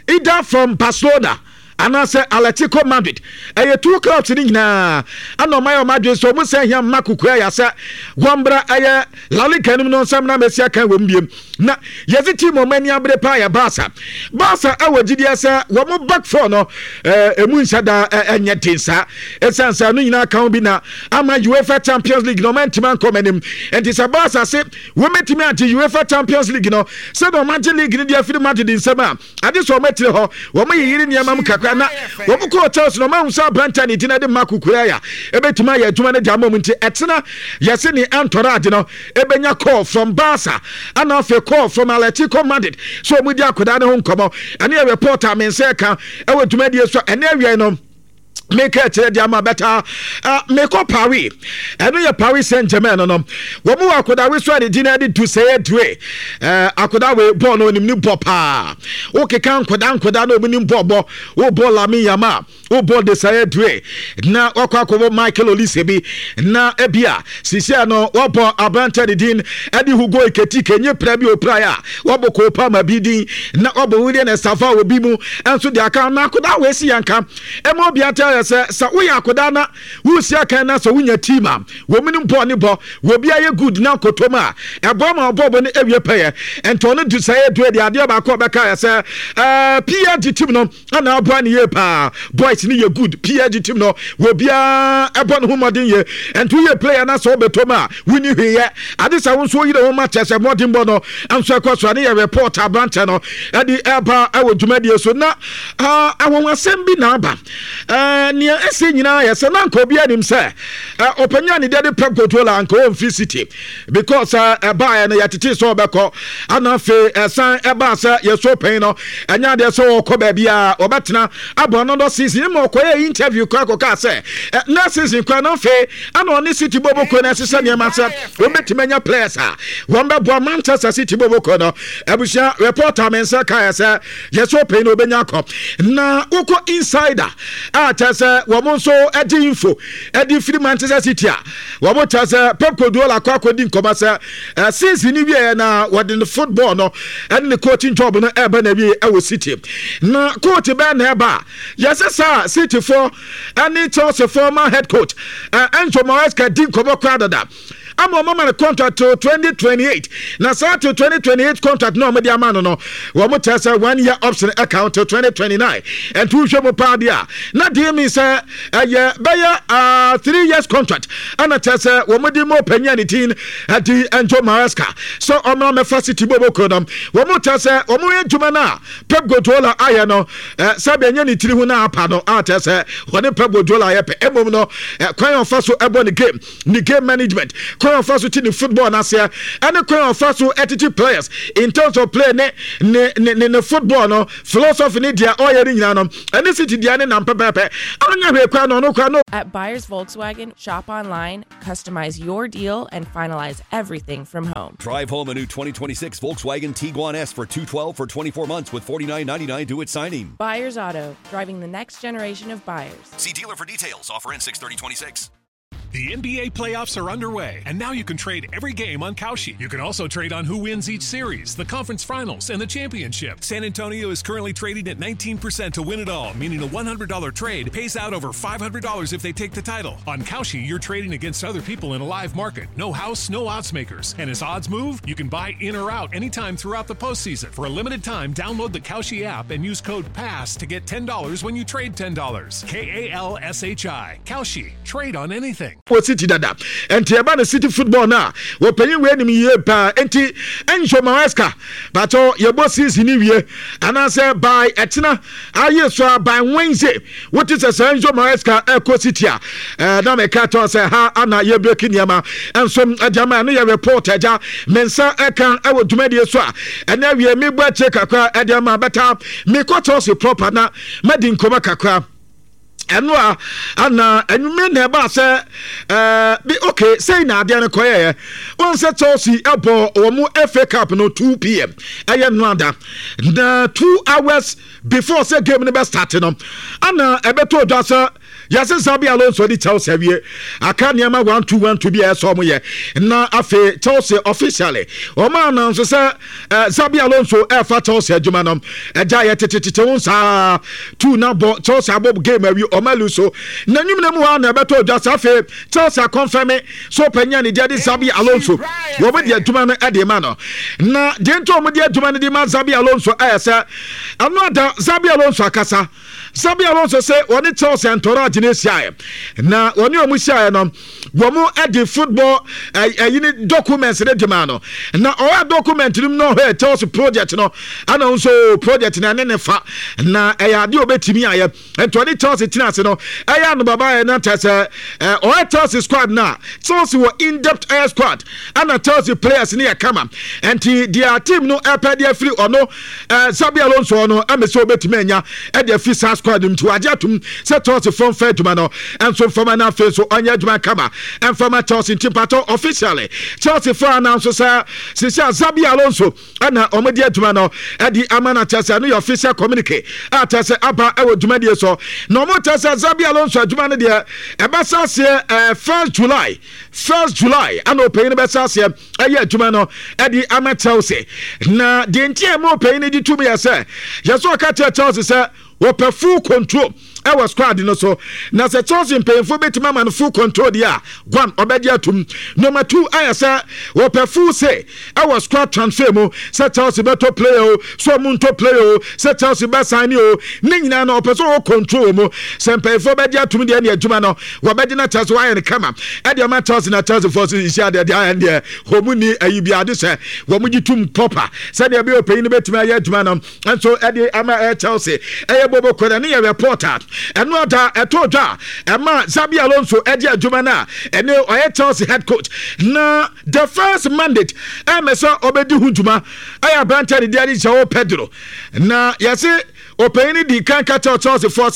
either from Barcelona anaasɛ Atletico Madrid. Ɛyɛ two clubs no nyinaa ɛna ɔma yɛ ɔma adwene sɛ ɔmo sɛ hia mma kokoa yɛ sɛ wɔmbra ɛyɛ La Liga no mu no nsɛm na mɛsi akan wɔ mu biem. Na yɛdze team ɔmo ani abere paa yɛ Barca. Barca ɛwɔ gyidie sɛ wɔn back four no ɛmu nhyɛ da ɛnyɛ den saa. Ɛsiane sɛ ɛno nyinaa ka ho bi na ama UEFA Champions League no ɔmo antumi ankɔ ɔmo anim. Nti sɛ Barca se wɔmɛtumi agye UEFA Champions League no sɛdeɛ ɔmo agye league no de afiri Madrid nsam a, Ade sɛ wɔn akyire hɔ, wɔn yeyere nneɛma mu kakra na wɔn kɔɔ Chelsea na wɔn ahu sɛ aberante a ne din de Marc Cucurella ebetumi ayɛ adwuma no de ama wɔn nti ɛtena yɛse ne entourage no ebenya call from Barca ana afei call from Atletico Madrid sɛ wɔn di akwadaa no ho nkɔmɔ. Ɛne yɛ report a me nsa ɛka ɛwɔ dwumadie so ɛne awiei no. Meka akyerɛ de ama bɛtaa uh, mekɔ Paris. Ɛno yɛ Paris Saint Germain no no. Wɔn wɔ akodawe so a ne din de Duseye Due. Uh, akodawe bɔɔl no onim ne bɔ paa. Wokeka nkoda nkoda na onim bɔɔl bɔ. Wobɔ Lamine Yamal, wobɔ Desire Due na wakɔ akɔbɔ Michael Olise bi na ebia sisia no wɔbɔ aberante ne din de Hugo Ekitike nye pra bi opra a wɔbɔ Cole Palmer bi din na wɔbɔ William Estevao obi mu nso de aka na akodawe si yanka. Ɛma obiara te aseɛ sɛ, sɛ woyɛ akwadaa na woresi akan na sɛ wonya team a wɔn nim bɔɔl ne bɔ, wɔ obiara yɛ good na nkotom a, ɛboa ma ɔbɔɔl no awie pɛyɛ. Nti ɔno du sɛ yɛ due deɛ adeɛ baako a ɔbɛka yɛ sɛ, ɛɛ PSG team no ana aboa ne yie paa. Boys no yɛ good, PSG team no wɔ obiara ɛbɔ ne ho mmɔden yie. Nti woyɛ player na sɛ wobɛtɔ mu a, wonni hwee yɛ. Ade sɛ wo nso woyere ho ma kyerɛ sɛ mmɔdenbɔ no nso ɛkɔ so. Ɛne yɛ report aberanteɛ no ɛde ɛba ɛwɔ dwumadie so na Ah, anwanwasɛm bi na aba. Eh, nea ɛsɛ nyinaa yɛ sɛ na anka obiara nim sɛ eh, ɔpanyin a ne deɛ de Pep Guardiola anka ɔmfiri City because eh, ɛbaeɛ no yɛtetee sɛ ɔbɛkɔ ana afei ɛsan ɛbaa sɛ yɛsɔ panyin no ɛnyɛ adeɛ sɛ ɔkɔ baabi a ɔbɛtena abɔ another season ma ɔkɔyɛ interview koraa kɔkaa sɛ eh, next season koraa na afei ana ɔne City bɔbɔkuo no ɛsesɛ nneɛma sɛ wɔbɛtumi anya players a wɔn bɛboa Manchester City bɔbɔkuo no. Abusua reporter me nsa kaeɛ sɛ Yɛ sɛ ɔpɛn na ɔbɛnya akɔ. Na wokɔ insider a kyerɛ sɛ wɔn nso de info de firi Manchester City a wɔn kyerɛ sɛ Pep Guardiola akɔ akɔdi nkɔmɔ sɛ eh, season no wieɛ na wɔde ne football no ɛne ne coaching job no ɛreba na wie ɛwɔ City. Na coach bɛn na ɛba a yɛsɛ saa City foɔ ɛne Chelsea former head coach eh, Enzo Maresca di nkɔmɔ koraa dada. Ama wɔn ama no contract till 2028 na saa till 2028 contract na wɔn de ama no no wɔn kyerɛ sɛ one year option ɛka ho till 2029 ɛnti wohwɛ mu paa deɛ a na deɛ mi sɛ ɛyɛ bɛyɛ 3 years contract ɛna kyerɛ sɛ wɔn de mu ɔpanyin a ne tin ɛde Enzo Maresca sɛ ɔmra mɛfa City bɔbɔ no wɔn kyerɛ sɛ wɔn yɛ adwuma no a Pep Guardiola ayɛ no sɛdeɛ ɛnyɛ ne tiri ho na apa no a kyerɛ sɛ wɔne Pep Guardiola ayɛ pɛ mmom no kwan a ɔfa so ɛbɔ ne game, ne game management, kwan a ɔfa so ti ne football n'aseɛ ɛne kwan a ɔfa so ɛtete players in terms of play ne ne ne ne, ne football no philosophy ne deɛ ɔyɛ ne nyinaa no ɛne City deɛ ne nam pɛpɛɛpɛ anya hwee kwan no ɔno kwan no. At Buyers Volkswagen, shop online, customize your deal, and finalize everything from home. Drive home a new 2026 Volkswagen Tiguan S for $212 for 24 months with $49.99 due at signing. Buyers Auto, driving the next generation of buyers. See dealer for details. Offer ends 6/30/26. The NBA playoffs are underway, and now you can trade every game on Kalshi. You can also trade on who wins each series, the conference finals, and the championship. San Antonio is currently trading at 19% to win it all, meaning a $100 trade pays out over $500 if they take the title. On Kalshi, you're trading against other people in a live market. No house, no odds makers. And as odds move, you can buy in or out anytime throughout the postseason. For a limited time, download the Kalshi app and use code PASS to get $10 when you trade $10. K A L S H I. Kalshi. Trade on anything. Wɔ City dada nti ɛba no City football no a wɔpanyin wei nim yie paa nti Enzo Maresca batɔ yɛbɔ season no wie anaasɛ by ɛtena ayɛ so a by Wednesday wote sɛ sɛ Enzo Maresca ɛkɔ City a ɛɛ na mɛka tɔ sɛ ha ana yɛbreki nneɛma nso ɛde ama ɛno yɛ report agya me nsa ɛka ɛwɔ dwumadie so a ɛna awie mebɔ akyire kakra ɛde ama bɛta mekɔ Chelsea proper na madi nkɔmɔ kakra. Ɛno a ana anwummerɛ na ɛbaa sɛ ɛɛ bi okay sɛi na adeɛ no kɔyɛɛ wɔn sɛ Chelsea ɛbɔ wɔn FA Cup no 2 pm ɛyɛ no ada na 2 hours before sɛ game no bɛ start no, ana ɛbɛtɔ dwa sɛ yɛsɛ Xabi Alonso de Chelsea awie, aka nneɛma 1 2 1 2 bi a ɛsɛ ɔmo yɛ, na afei Chelsea officially ɔmo announce sɛ Xabi Alonso ɛfa Chelsea adwuma no. Ɛgya yɛ tetetete ho saa two na bɔ Chelsea abɔ game awie, ɔmo alu so na enyim na mu hɔ na ɛbɛtɔ dwa sɛ afei Chelsea akɔnfɛmi so panyin a ne deɛ de Xabi Alonso, wɔn de adwuma no ɛde ma no. Na deɛ nti wɔn de adwuma no de ma Xabi Alonso ɛyɛ sɛ ɛno ada Xabi Alonso akasa. Xabi Alonso sɛ wɔne Chelsea entourage no ahyiaeɛ, na wɔne wɔn hyiaeɛ no, wɔn de football ɛyi ne documents ne de ma no, na ɔwɔ document no mu no, ɔhwɛ Chelsea project no, ɛna nso project no ɛne ne fa na ɛyɛ adeɛ a ɔbɛtumi ayɛ. Nti ɔne Chelsea tena ase no, ɛyɛ anobaba yɛ na kyerɛ sɛ ɔyɛ Chelsea squad no a, Chelsea wɔ in-depth ɛyɛ squad, ɛna Chelsea players no yɛ kama. Nti deɛ team no ɛpɛ de afiri ɔno Xabi Alonso no, ɛmɛ sɛ ɔbɛtumi anya ɛde afiri saa squad no mu. Nti wagye atom sɛ Chelsea fɔm fɛ adwuma no ɛnso mfama no, afei nso ɔnyɛ adwuma kama ɛmfama Chelsea. Nti mpatɔ officially Chelsea fo announce sɛ sisi a Xabi Alonso ɛna wɔn de adwuma no ɛde ama no. Kyerɛ sɛ ɛno yɛ official communique a kyerɛ sɛ aba ɛwɔ dwumadie so, na wɔn kyerɛ sɛ Xabi Alonso adwuma no deɛ, ɛbɛsa aseɛ 1st July. 1st July ɛna ɔpanyin no bɛsa aseɛ ɛyɛ adwuma no ɛde ama Chelsea. Na deɛ nti a ɛma ɔpanyin no de tum yɛ sɛ yɛsɛ ɔka kyerɛ Chelsea sɛ wɔpɛ full control ɛwɔ squad no so, na sɛ Chelsea mpanyinfoɔ bɛtumi ama no full control deɛ a, one, ɔbɛgye atum. Number two, ayɛ sɛ wɔpɛ full say ɛwɔ squad transfer mu, sɛ Chelsea bɛtɔ player o, sɛ ɔmo ntɔ player o, sɛ Chelsea bɛ sign o, ne nyinaa no ɔpɛ sɛ ɔwɔ control wɔ mu. Sɛ mpanyinfoɔ bɛgye atum deɛ, ne adwuma no wɔbɛgye na Chelsea wɔayɛ no kama ɛde ama Chelsea. Na Chelsea foɔ so nhyia deɛ ayɛ deɛ wɔn ni ayi bi ade sɛ wɔn gye tum proper sɛdeɛ ɛbɛyɛ ɔpanyin no bɛtumi ayɛ adwuma no nso ɛde ama ɛyɛ Chelsea. Ɛyɛ bobo kɔnɛ ne yɛ reporter ɛno ada ɛtɔ dwa ɛma Xabi Alonso ɛde adwuma no a ɛne ɔyɛ Chelsea head coach. Na the first mandate ɛmɛ sɛ ɔbɛdi ho dwuma ɛyɛ aberanteɛ ne deɛ de Joao Pedro, na yɛse ɔpanyin no di kan ka kyerɛ Chelsea foɔ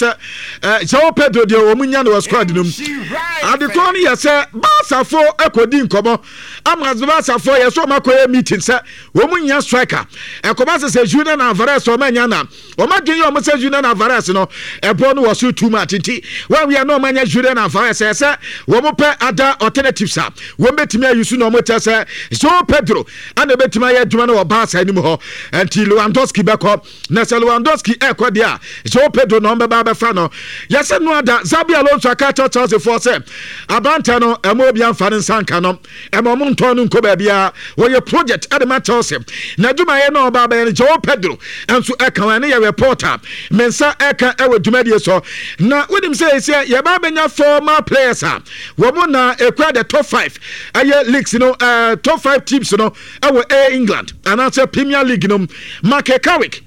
sɛ Joao Pedro deɛ, wɔn nya no wɔ squad no mu. Adekorɔ no yɛ sɛ Barcafoɔ akɔdi nkɔmɔ ama Barcafoɔ yɛ sɛ wɔn akɔyɛ meeting sɛ wɔn nya striker. Ɛkɔba sɛ Julian Alvarez wɔn anya, na wɔn adwene yɛ wɔn sɛ Julian Alvarez no ɛbɔ no wɔ so too much, nti wɔn awia na wɔn anya Julian Alvarez, ɛsɛ sɛ wɔn pɛ ada alternatives a wɔn bɛtumi ayi so, na wɔn kyɛ sɛ Joao Pedro ana bɛtumi ayɛ adwuma no wɔ Barca anim hɔ. Nti Lewandowski bɛkɔ, na sɛ Lewandowski ɛkɔ deɛ a, Joao Pedro na ɔmbɛba abɛfa no. Yɛsɛ no ada Xabi Alonso aka kyerɛ Chelsea foɔ sɛ aberanteɛ no, ɛma obi amfa ne nsa nka no, ɛma ɔmo ntɔn no nkɔ baabiara, wɔyɛ project ɛde ma Chelsea na adwumayɛ na ɔba abɛyɛ no, Joao Pedro nso ɛka wɔn. Ɛne yɛ reporter me nsa ɛka ɛwɔ dwumadie so. Na wonim sɛ ɛsɛ yɛba abɛnya former players a wɔn na ekura the top five ɛyɛ leagues no, top five teams no ɛwɔ ɛyɛ England anaasɛ Premier League no. Michael Carrick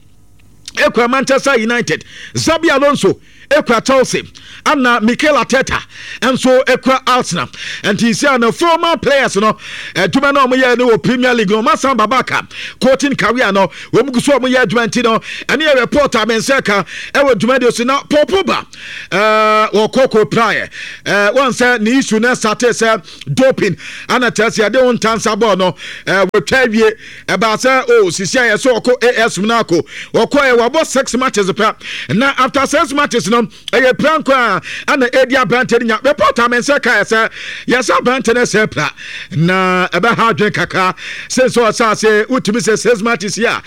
ekura Manchester United, Xabi Alonso ekura Chelsea, ana Mikel Arteta nso ekura Arsenal. Nti sɛ na former players no adwuma no a wɔyɛ no wɔ Premier League no, wɔn asan babaka coaching career no, wɔn gu so a wɔyɛ adwuma. Nti no ɛne yɛ report a me nsa ka ɛwɔ dwumadie so. Na Paul Pogba wɔkɔ kɔ praeɛ wɔn sɛ ne issue no start sɛ doping, ana kyerɛ sɛ yɛde wo ntansa bɔɔl no wɔtwa awie. Ɛbaa sɛ o sisi a yɛsɛ ɔkɔ AS Monaco, ɔkɔ yɛ wabɔ six matches pɛ, na after six matches no ɛyɛ pira nko a ɛna ɛdi aberante no nya. Report a me nsa ka yɛ sɛ yɛsɛ aberante no sɛ pira na ɛbɛha adwene kakra sɛ sɛ ɔsɛ ase wotumi sɛ six matches yi a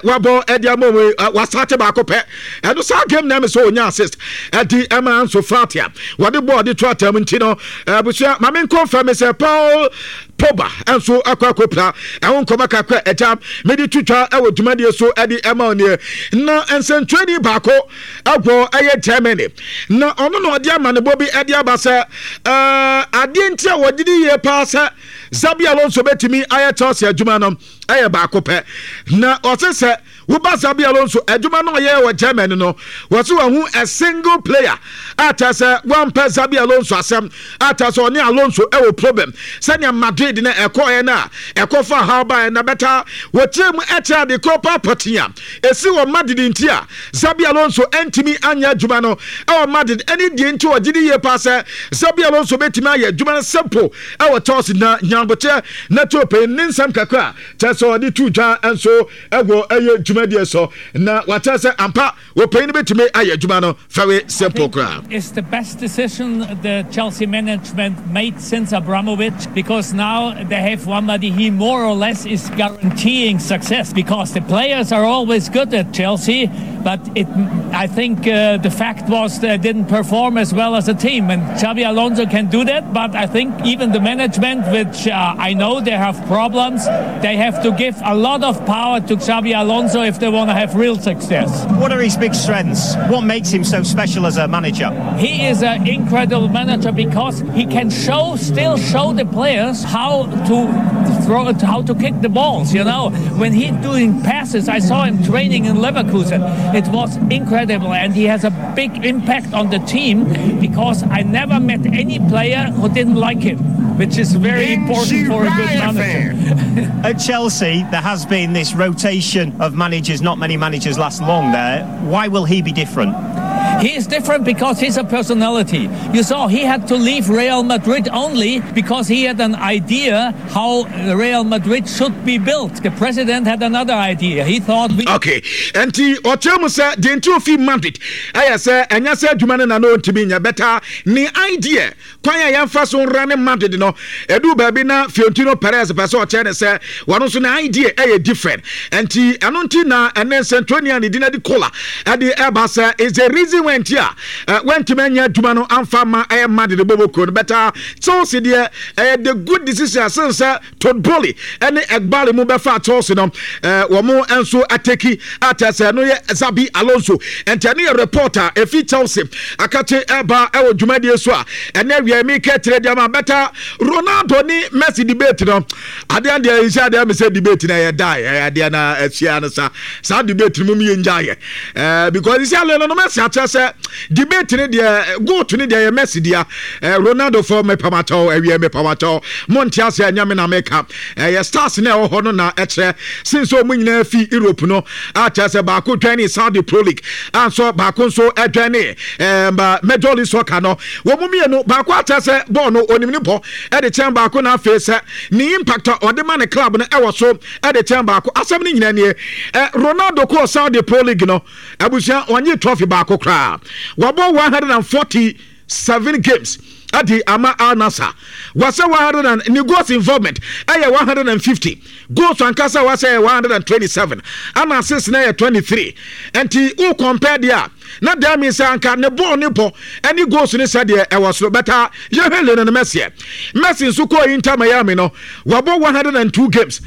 wabɔ ɛde ama mu, wasate baako pɛ, ɛno saa game na ɛmɛ sɛ ɔnya assist ɛde ɛma nso Fati a wɔde bɔɔl de to atam. Nti no abusua, maame nkɔmfɛ me sɛ Paul Pogba nso akɔ akɔpira, ɛho nkɔmɔ kakra ɛgya mede to twa ɛwɔ dwumadie so ɛde ɛma ɔneɛ. Na nsɛntwerɛni baako ɛwɔ ɛyɛ Germany, na ɔno na ɔde amanebɔ bi ɛde aba sɛ adeɛ nti a wɔgye di yie paa sɛ Xabi Alonso bɛtumi ayɛ Chelsea adwuma no ɛyɛ baako pɛ, na ɔse sɛ Woba Xabi Alonso adwuma no ɔyɛɛ wɔ Germany no, wɔse wahu a single player a kyerɛ sɛ wampɛ Xabi Alonso asɛm a kyerɛ sɛ ɔne Alonso wɔ problem sɛnea Madrid no ɛkɔɔɛ no a ɛkɔfa haw baeɛ na bɛta wɔkyerɛ mu kyerɛ ade korɔ paa pɔtee a ɛsi wɔ Madrid nti a Xabi Alonso antumi anyɛ adwuma no wɔ Madrid ɛne deɛ nti ɔgye di yie paa sɛ Xabi Alonso bɛtumi ayɛ adwuma no simple wɔ Chelsea na nyanbokyɛ na tuo ne nsɛm kakra kyerɛ sɛ ɔde to dwa nso ɛwɔ ɛyɛ dwumadie so na wakyerɛ sɛ ampa wɔpanyin no bɛtumi ayɛ adwuma no very simple koraa. It's the best decision the Chelsea management made since Abramovich because now they have somebody he more or less is guaranteeing success because the players are always good at Chelsea but it I think uh, the fact was they didn't perform as well as a team and Xabi Alonso can do that but I think even the management which uh, I know they have problems they have to give a lot of power to Xabi Alonso if they want to have real success. What are his big strengths? What makes him so special as a manager? He is an incredible manager because he can show still show the players how to throw how to kick the balls, you know. When he's doing passes, I saw him training in Leverkusen. It was incredible and he has a big impact on the team because I never met any player who didn't like him, which is very important for a good manager. At Chelsea, there has been this rotation of managers. Not many managers last long there. Why will he be different? He is different because he's a personality. You saw he had to leave Real Madrid only because he had an idea how Real Madrid should be built. The president had another idea. He thought we. Okay. Enti ɔkyerɛ mu sɛ deɛ nti ofi Madrid ɛyɛ sɛ ɛnyɛ sɛ adwuma no na na ɔntumi nyɛ bɛta ne idea Kwan a yɛmfa so nra ne Madrid no, ɛduu baabi na Fiorentino Perez pɛ sɛ ɔkyerɛ ne sɛ wɔn nso ne idea ɛyɛ different. Nti ɛno nti na ɛnɛ nsɛntwerɛni a ne din adi Kola ɛde ɛba sɛ is the reason why nti a wantumi anya adwuma no amfa ma ɛyɛ Madrid bɔbɔ kuo no. But Chelsea deɛ ɛyɛ the good decision asen sɛ Todd Boehly ne Eghbali mu bɛfaa Chelsea no, wɔn nso ateki akyɛ sɛ ɛno yɛ Xabi Alonso. Nti ɛno yɛ report a efi Chelsea akakye ɛba ɛwɔ dwumadie so a ɛnɛ awia mi kɛ kyerɛ deɛ ma bɛta Ronaldo ne Messi debate no. Adeɛ deɛ nhyɛ adeɛ mi sɛ debate na ɛyɛ die ɛyɛ adeɛ na ɛhyia no sa saa debate no mu mi yɛ ngya yɛ ɛɛ because nhyɛ adeɛ no Messi akyerɛ sɛ debate no deɛ goat no deɛ yɛ Messi dea eh, Ronaldo fɔ mepamakyɛw awie mepamakyɛw mo nte ase ɛnyɛ me na meka ɛyɛ stars na ɛwɔ hɔ no na ɛkyerɛ sen sɛ ɔmo nyinaa fi Europe no akyerɛ sɛ baako dwan ne Saudi Pro League anso baako nso ɛdwan ne ɛɛm Major League Soccer no wɔn mu mmienu baako akyerɛ sɛ bɔɔl no onim ne bɔ ɛde kyɛn baako na afei sɛ ne impact a ɔde ma ne club no ɛwɔ so ɛde kyɛn baako asɛm no nyinaa nie Ronaldo kɔɔ Saudi Pro League no Abusua ɔnye trophy baako koraa. Wabɔ 147 games adi ama Al Nassr. Wasɛ 100 and ne goals involvement ɛyɛ 150. Goals ankasa wasɛ yɛ 127 ana assists na yɛ 23. Nti wo compare deɛ a na that means sɛ anka ne bɔɔl ne bɔ ɛne goals ne sɛ deɛ ɛwɔ soro bɛta yɛhwɛ Lionel Messi ɛ. Messi nso kɔɔ Inter Miami no wabɔ 102 games.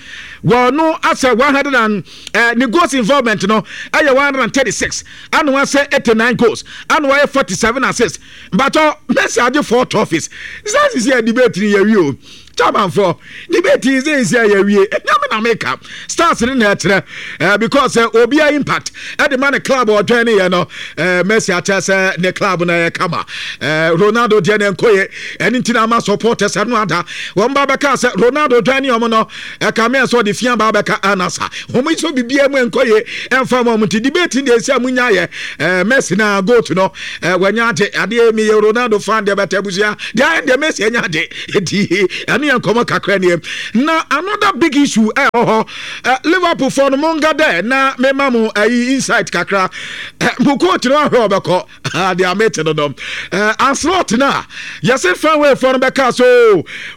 Wɔno asɛ 100 and Eh, ne goals involvement no ɛyɛ 136 ana wasɛ 89 goals ana wayɛ 47 assists mbatɔ Messi agye 4 trophies sɛ sisi yɛ debate ni yɛwie o chairmanfoɔ debate yi sɛ sisi yɛ yɛwie ɛnyɛ me na meka stars ne na ɛkyerɛ eh, because eh, obiara impact ɛde ma ne club ɔdwɛn ne yɛ no eh, Messi akyerɛ sɛ ne club no ɛyɛ kama eh, Ronaldo deɛ ne nkɔyɛ ɛne nti na ama supporters ɛno ada wɔn ba bɛka sɛ Ronaldo dwɛn ne wɔn no Ɛkame sɛ ɔde fi aba abɛka anasa. Wɔn yi so biribiara mu ɛnkɔ yie ɛmfa ma wɔn nti debate deɛ ɛsi a mo nya yɛ ɛɛ Messi na goat no ɛɛ wɔnya ade adeɛ mi yɛ Ronaldo fan deɛ bɛtɛ abusua deɛ ayɛ deɛ Messi anya ade eti ɛno yɛ nkɔmɔ kakra nie na another big issue ɛwɔ hɔ ɛ Liverpool fɔ no mo nga dɛ na mema mo ɛyi insight kakra ɛ mo coach no ahwɛ ɔbɛkɔ Ah, deɛ mete no no eh, Ancelotti no a yɛse Fenwayfoɔ no bɛka so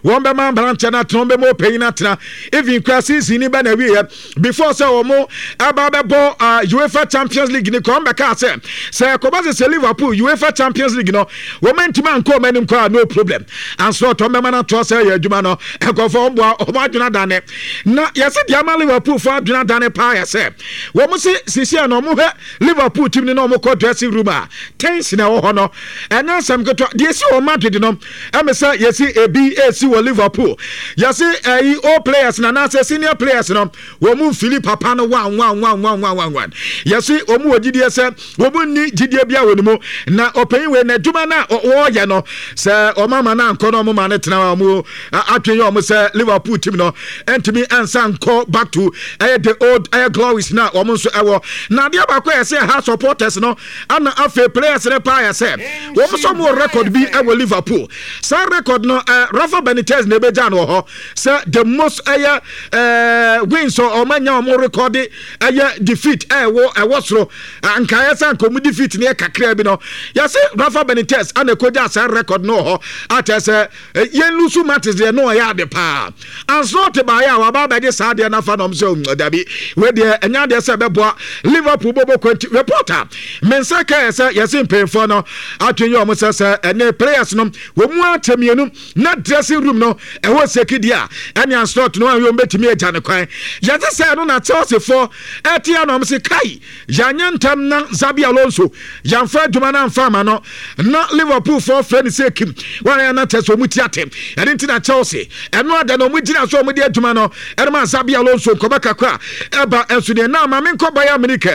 wɔn bɛma mmeranteɛ no atena wɔn bɛma ɔpanyin atena even kura season ni bɛ na awieɛ before sɛ wɔn ɛba bɛbɔ uh, UEFA Champions League ni kora wɔn bɛka sɛ sɛ ɛkɔba sɛ sɛ Liverpool UEFA Champions League no wɔn ntumi ankɔ wɔn anim koraa no problem Ancelotti wɔn bɛma no atoa sɛ ɛyɛ adwuma. adwuma no nkurɔfoɔ wɔn boa wɔn adwene adane na yɛsɛ deɛ ama Liverpool fo adwene adane paa yɛ sɛ wɔn se sisi a na wɔn hwɛ Liverpool team no na wɔn kɔ dressing room a tension ɛwɔ hɔ no ɛnyɛ nsɛm ketewa deɛ esi wɔ Madrid no ɛmɛ sɛ yɛsi ebi esi wɔ Liverpool yɛsi ɛyi old players na anaasɛ senior players no wɔn mu nfili papa no wan wan wan wan wan wan wan yɛsi wɔn wɔ gyidie sɛ wɔn nni gyidie bi a wɔ ne mu na ɔpanyin wei na adwuma no a wɔreyɛ no sɛ wɔn ama no ankɔ na wɔn ma no tena wɔn adwene yɛ wɔn sɛ Liverpool team no ntumi nsa nkɔ back to ɛyɛ the old ɛyɛ glories na wɔn nso ɛwɔ na adeɛ baako yɛ sɛ ha supporters no ana afei players no paa yɛ sɛ wɔn nso wɔn wɔ record bi ɛwɔ Liverpool saa record no ɛɛ Rafa Benitez na ebegya no wɔ hɔ sɛ the most ɛyɛ ɛɛ wins wɔn anya wɔn record ɛyɛ defeat ɛwɔ ɛwɔ soro nkaeɛ sɛ anka wɔn defeat no yɛ kakra bi no yɛsɛ Rafa Benitez ana ekogya saa record no wɔ hɔ akyɛ sɛ yɛn lusu matches deɛ no ɔyɛ ade paa Ancelotti baeɛ a waba abɛgye saa adeɛ no afa na ɔm sɛ mm, dabi wei deɛ ɛnyɛ adeɛ sɛ ɛbɛboa Liverpool bɔbɔ kwanti report a me nsa kaeɛ sɛ yɛse mpanyinfoɔ no atwe yɛ ɔmo sɛ sɛ ɛne players no wɔn mu akyɛ mmienu na dressing room no ɛhɔ seki deɛ a ɛne Ancelotti no ahwɛ wɔn bɛtumi agya ne kwan yɛse sɛ ɛno na Chelsea foɔ ɛte a na ɔmo se kai Yɛanyɛ ntɛm na Xabi Alonso yɛamfa adwuma no amfa ama no na Liverpool foɔ frɛ no sɛ kim wɔn na kyɛ sɛ wɔn ti ate ɛno nti na Chelsea ɛno ada na wɔn gyina so wɔn de adwuma no ɛno ma Xabi Alonso nkɔmɔ kakra ɛba ɛnso deɛ na maame nkɔ Bayern Munich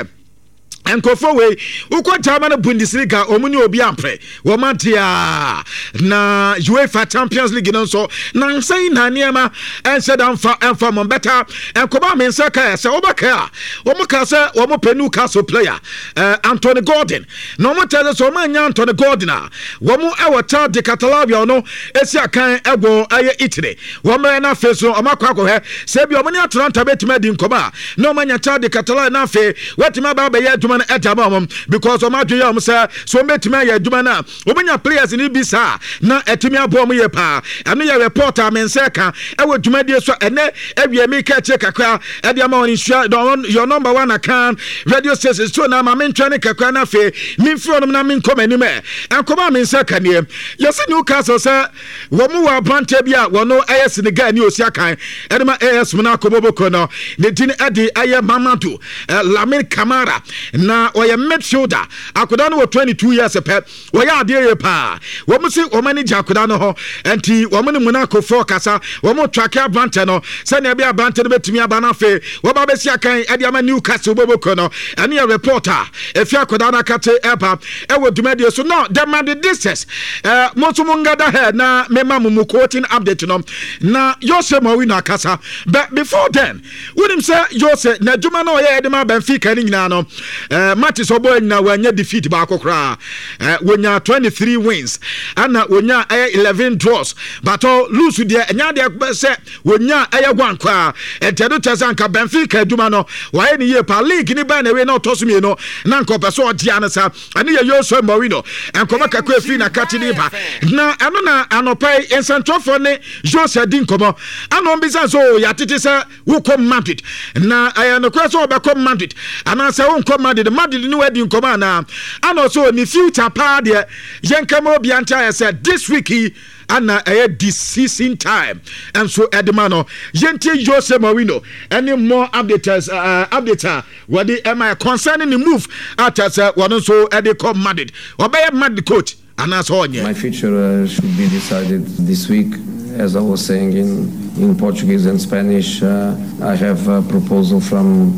nkurɔfoɔ wei wokɔ German Bundesliga wɔn ne obi ampere Wɔn ade a na UEFA Champions League no nso nansa yi na nneɛma ɛnhyɛ da mfa ɛmfa mɔ bɛta nkɔmɔ a me nsa kae sɛ wɔbɛkae a wɔn ka sɛ wɔn pɛ Newcastle player eh, Anthony Gordon na wɔn kyerɛ sɛ wɔn anya Anthony Gordon a wɔn ɛwɔ Chad de Catalavia no esi akan ɛwɔ ɛyɛ Italy wɔn mmerɛ no afei so wɔn akɔ akɔhwɛ sɛ ebi wɔn ne Atalanta bɛtumi adi nkɔmɔ a na wɔn anya Chad de Catalavia na afei wɔatumi aba abɛyɛ adwuma no ɛde ama wɔn because wɔn adwene yɛ wɔn sɛ So wɔbɛtumi ayɛ adwuma no a wɔbɛnya players no bi saa na atumi aboa wɔn yie paa. Ɛno yɛ report a me nsa ɛka ɛwɔ dwumadie so ɛnɛ awie meka akyire kakra ɛde ama wɔn nsua your number one akan radio station so na ma mentwɛn ne kakra na afei memfiri hɔnom na menkɔ m'anim ɛ nkɔmɔ a me nsa ka nie yɛsɛ Newcastle sɛ Wɔn wɔ aberanteɛ bi a wɔn yɛ Senegal ni osi akan ɛde ma AS Monaco bɔbɔkuo no. Ne din ɛde ɛyɛ Mamadou eh, Lamine Camara na ɔyɛ midfielder. Akwadaa no wɔ 22 years pɛ. Wɔyɛ adeɛ yie paa. Wɔn si wɔn ani gye akwadaa no ho nti wɔn ne Monaco foɔ kasa. Wɔn trake aberanteɛ no sɛnea ɛbɛyɛ aberanteɛ no bɛtumi aba no afei wɔba bɛsi akan ɛde ama Newcastle bɔbɔkuo no. Ɛno yɛ report a efi akwadaa no akate ɛba ɛwɔ dwumadie so. Now the Madridistas Eh, mo nso mo ngada hɛ na mema mo mo coaching update no na Jose Mourinho akasa. But before then, wonim sɛ Jose n'adwuma na ɔyɛ de ma Benfica no nyinaa no, eh, matches ɔbɔ nyinaa wanya defeat baako koraa. Eh, wonya 23 wins ɛna wonya ɛyɛ 11 draws. But oh, lose deɛ ɛnya deɛ sɛ wonya ɛyɛ one koraa. Ɛnti ɛno kyerɛ sɛ anka Benfica adwuma no wɔayɛ ne yie paa. League ne bɛn na ɛwei na ɔtɔ so mmienu na anka ɔpɛ sɛ ɔgyea no saa. Ɛno yɛ Jose Mourinho nkɔmmɔ kakra efiri n'akati de ba. Na ɛno na anɔpa yi nsɛntwerɛfoɔ ne Jose di nkɔmmɔ. Ɛna wɔn bisa sɛ, o yɛatete sɛ wokɔ Madrid. Na ɛyɛ nokorɛ sɛ wɔbɛkɔ Madrid anaasɛ wonkɔ Madrid? Madrid ne wadi nkɔmmɔ anaa? Ɛna ɔsɛ o ne future paa deɛ yɛnka ma obiara nte ayɛ sɛ this week yi ana ɛyɛ decision time nso ɛde ma no. Yɛntie Jose Mourinho ɛne more updates, uh, updates a Wɔde ɛma concerning ne move a kyerɛ sɛ wɔn nso de kɔ Madrid. Ɔbɛyɛ Madrid coach anaasɛ ɔnyɛ? My future should be decided this week. As I was saying in in Portuguese and Spanish, I have a proposal from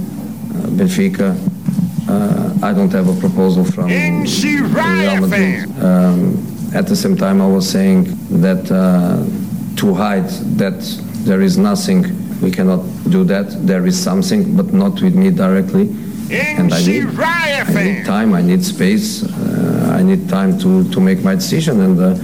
Benfica. I don't have a proposal from Real Madrid. At the same time, I was saying that to hide that there is nothing We cannot do that. There is something, but not with me directly. And I need, I need time, I need space, uh, I need time to, to make my decision. And uh,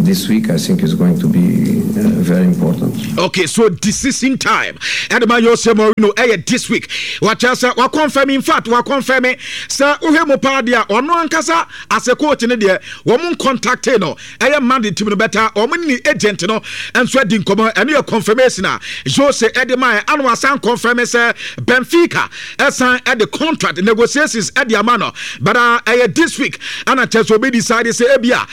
this week, I think, is going to be uh, very important. Okay, so decision time. Ɛde ma Jose Mourinho ɛyɛ this week. Wakyerɛ sɛ wakɔnfɛm in fact wakɔnfɛm sɛ wohwɛ mu paa deɛ ɔno ankasa as a coach ne deɛ wɔn ncontacte no ɛyɛ Madrid team no bɛta wɔn ne agent no nso adi nkɔmɔ. Ɛno yɛ confirmation a Jose ɛde ma ɛ ano asan confirm sɛ Benfica ɛsan ɛde contract negotiations ɛde ama no, but ɛyɛ this week ɛna kyerɛ sɛ obi decide sɛ ebi a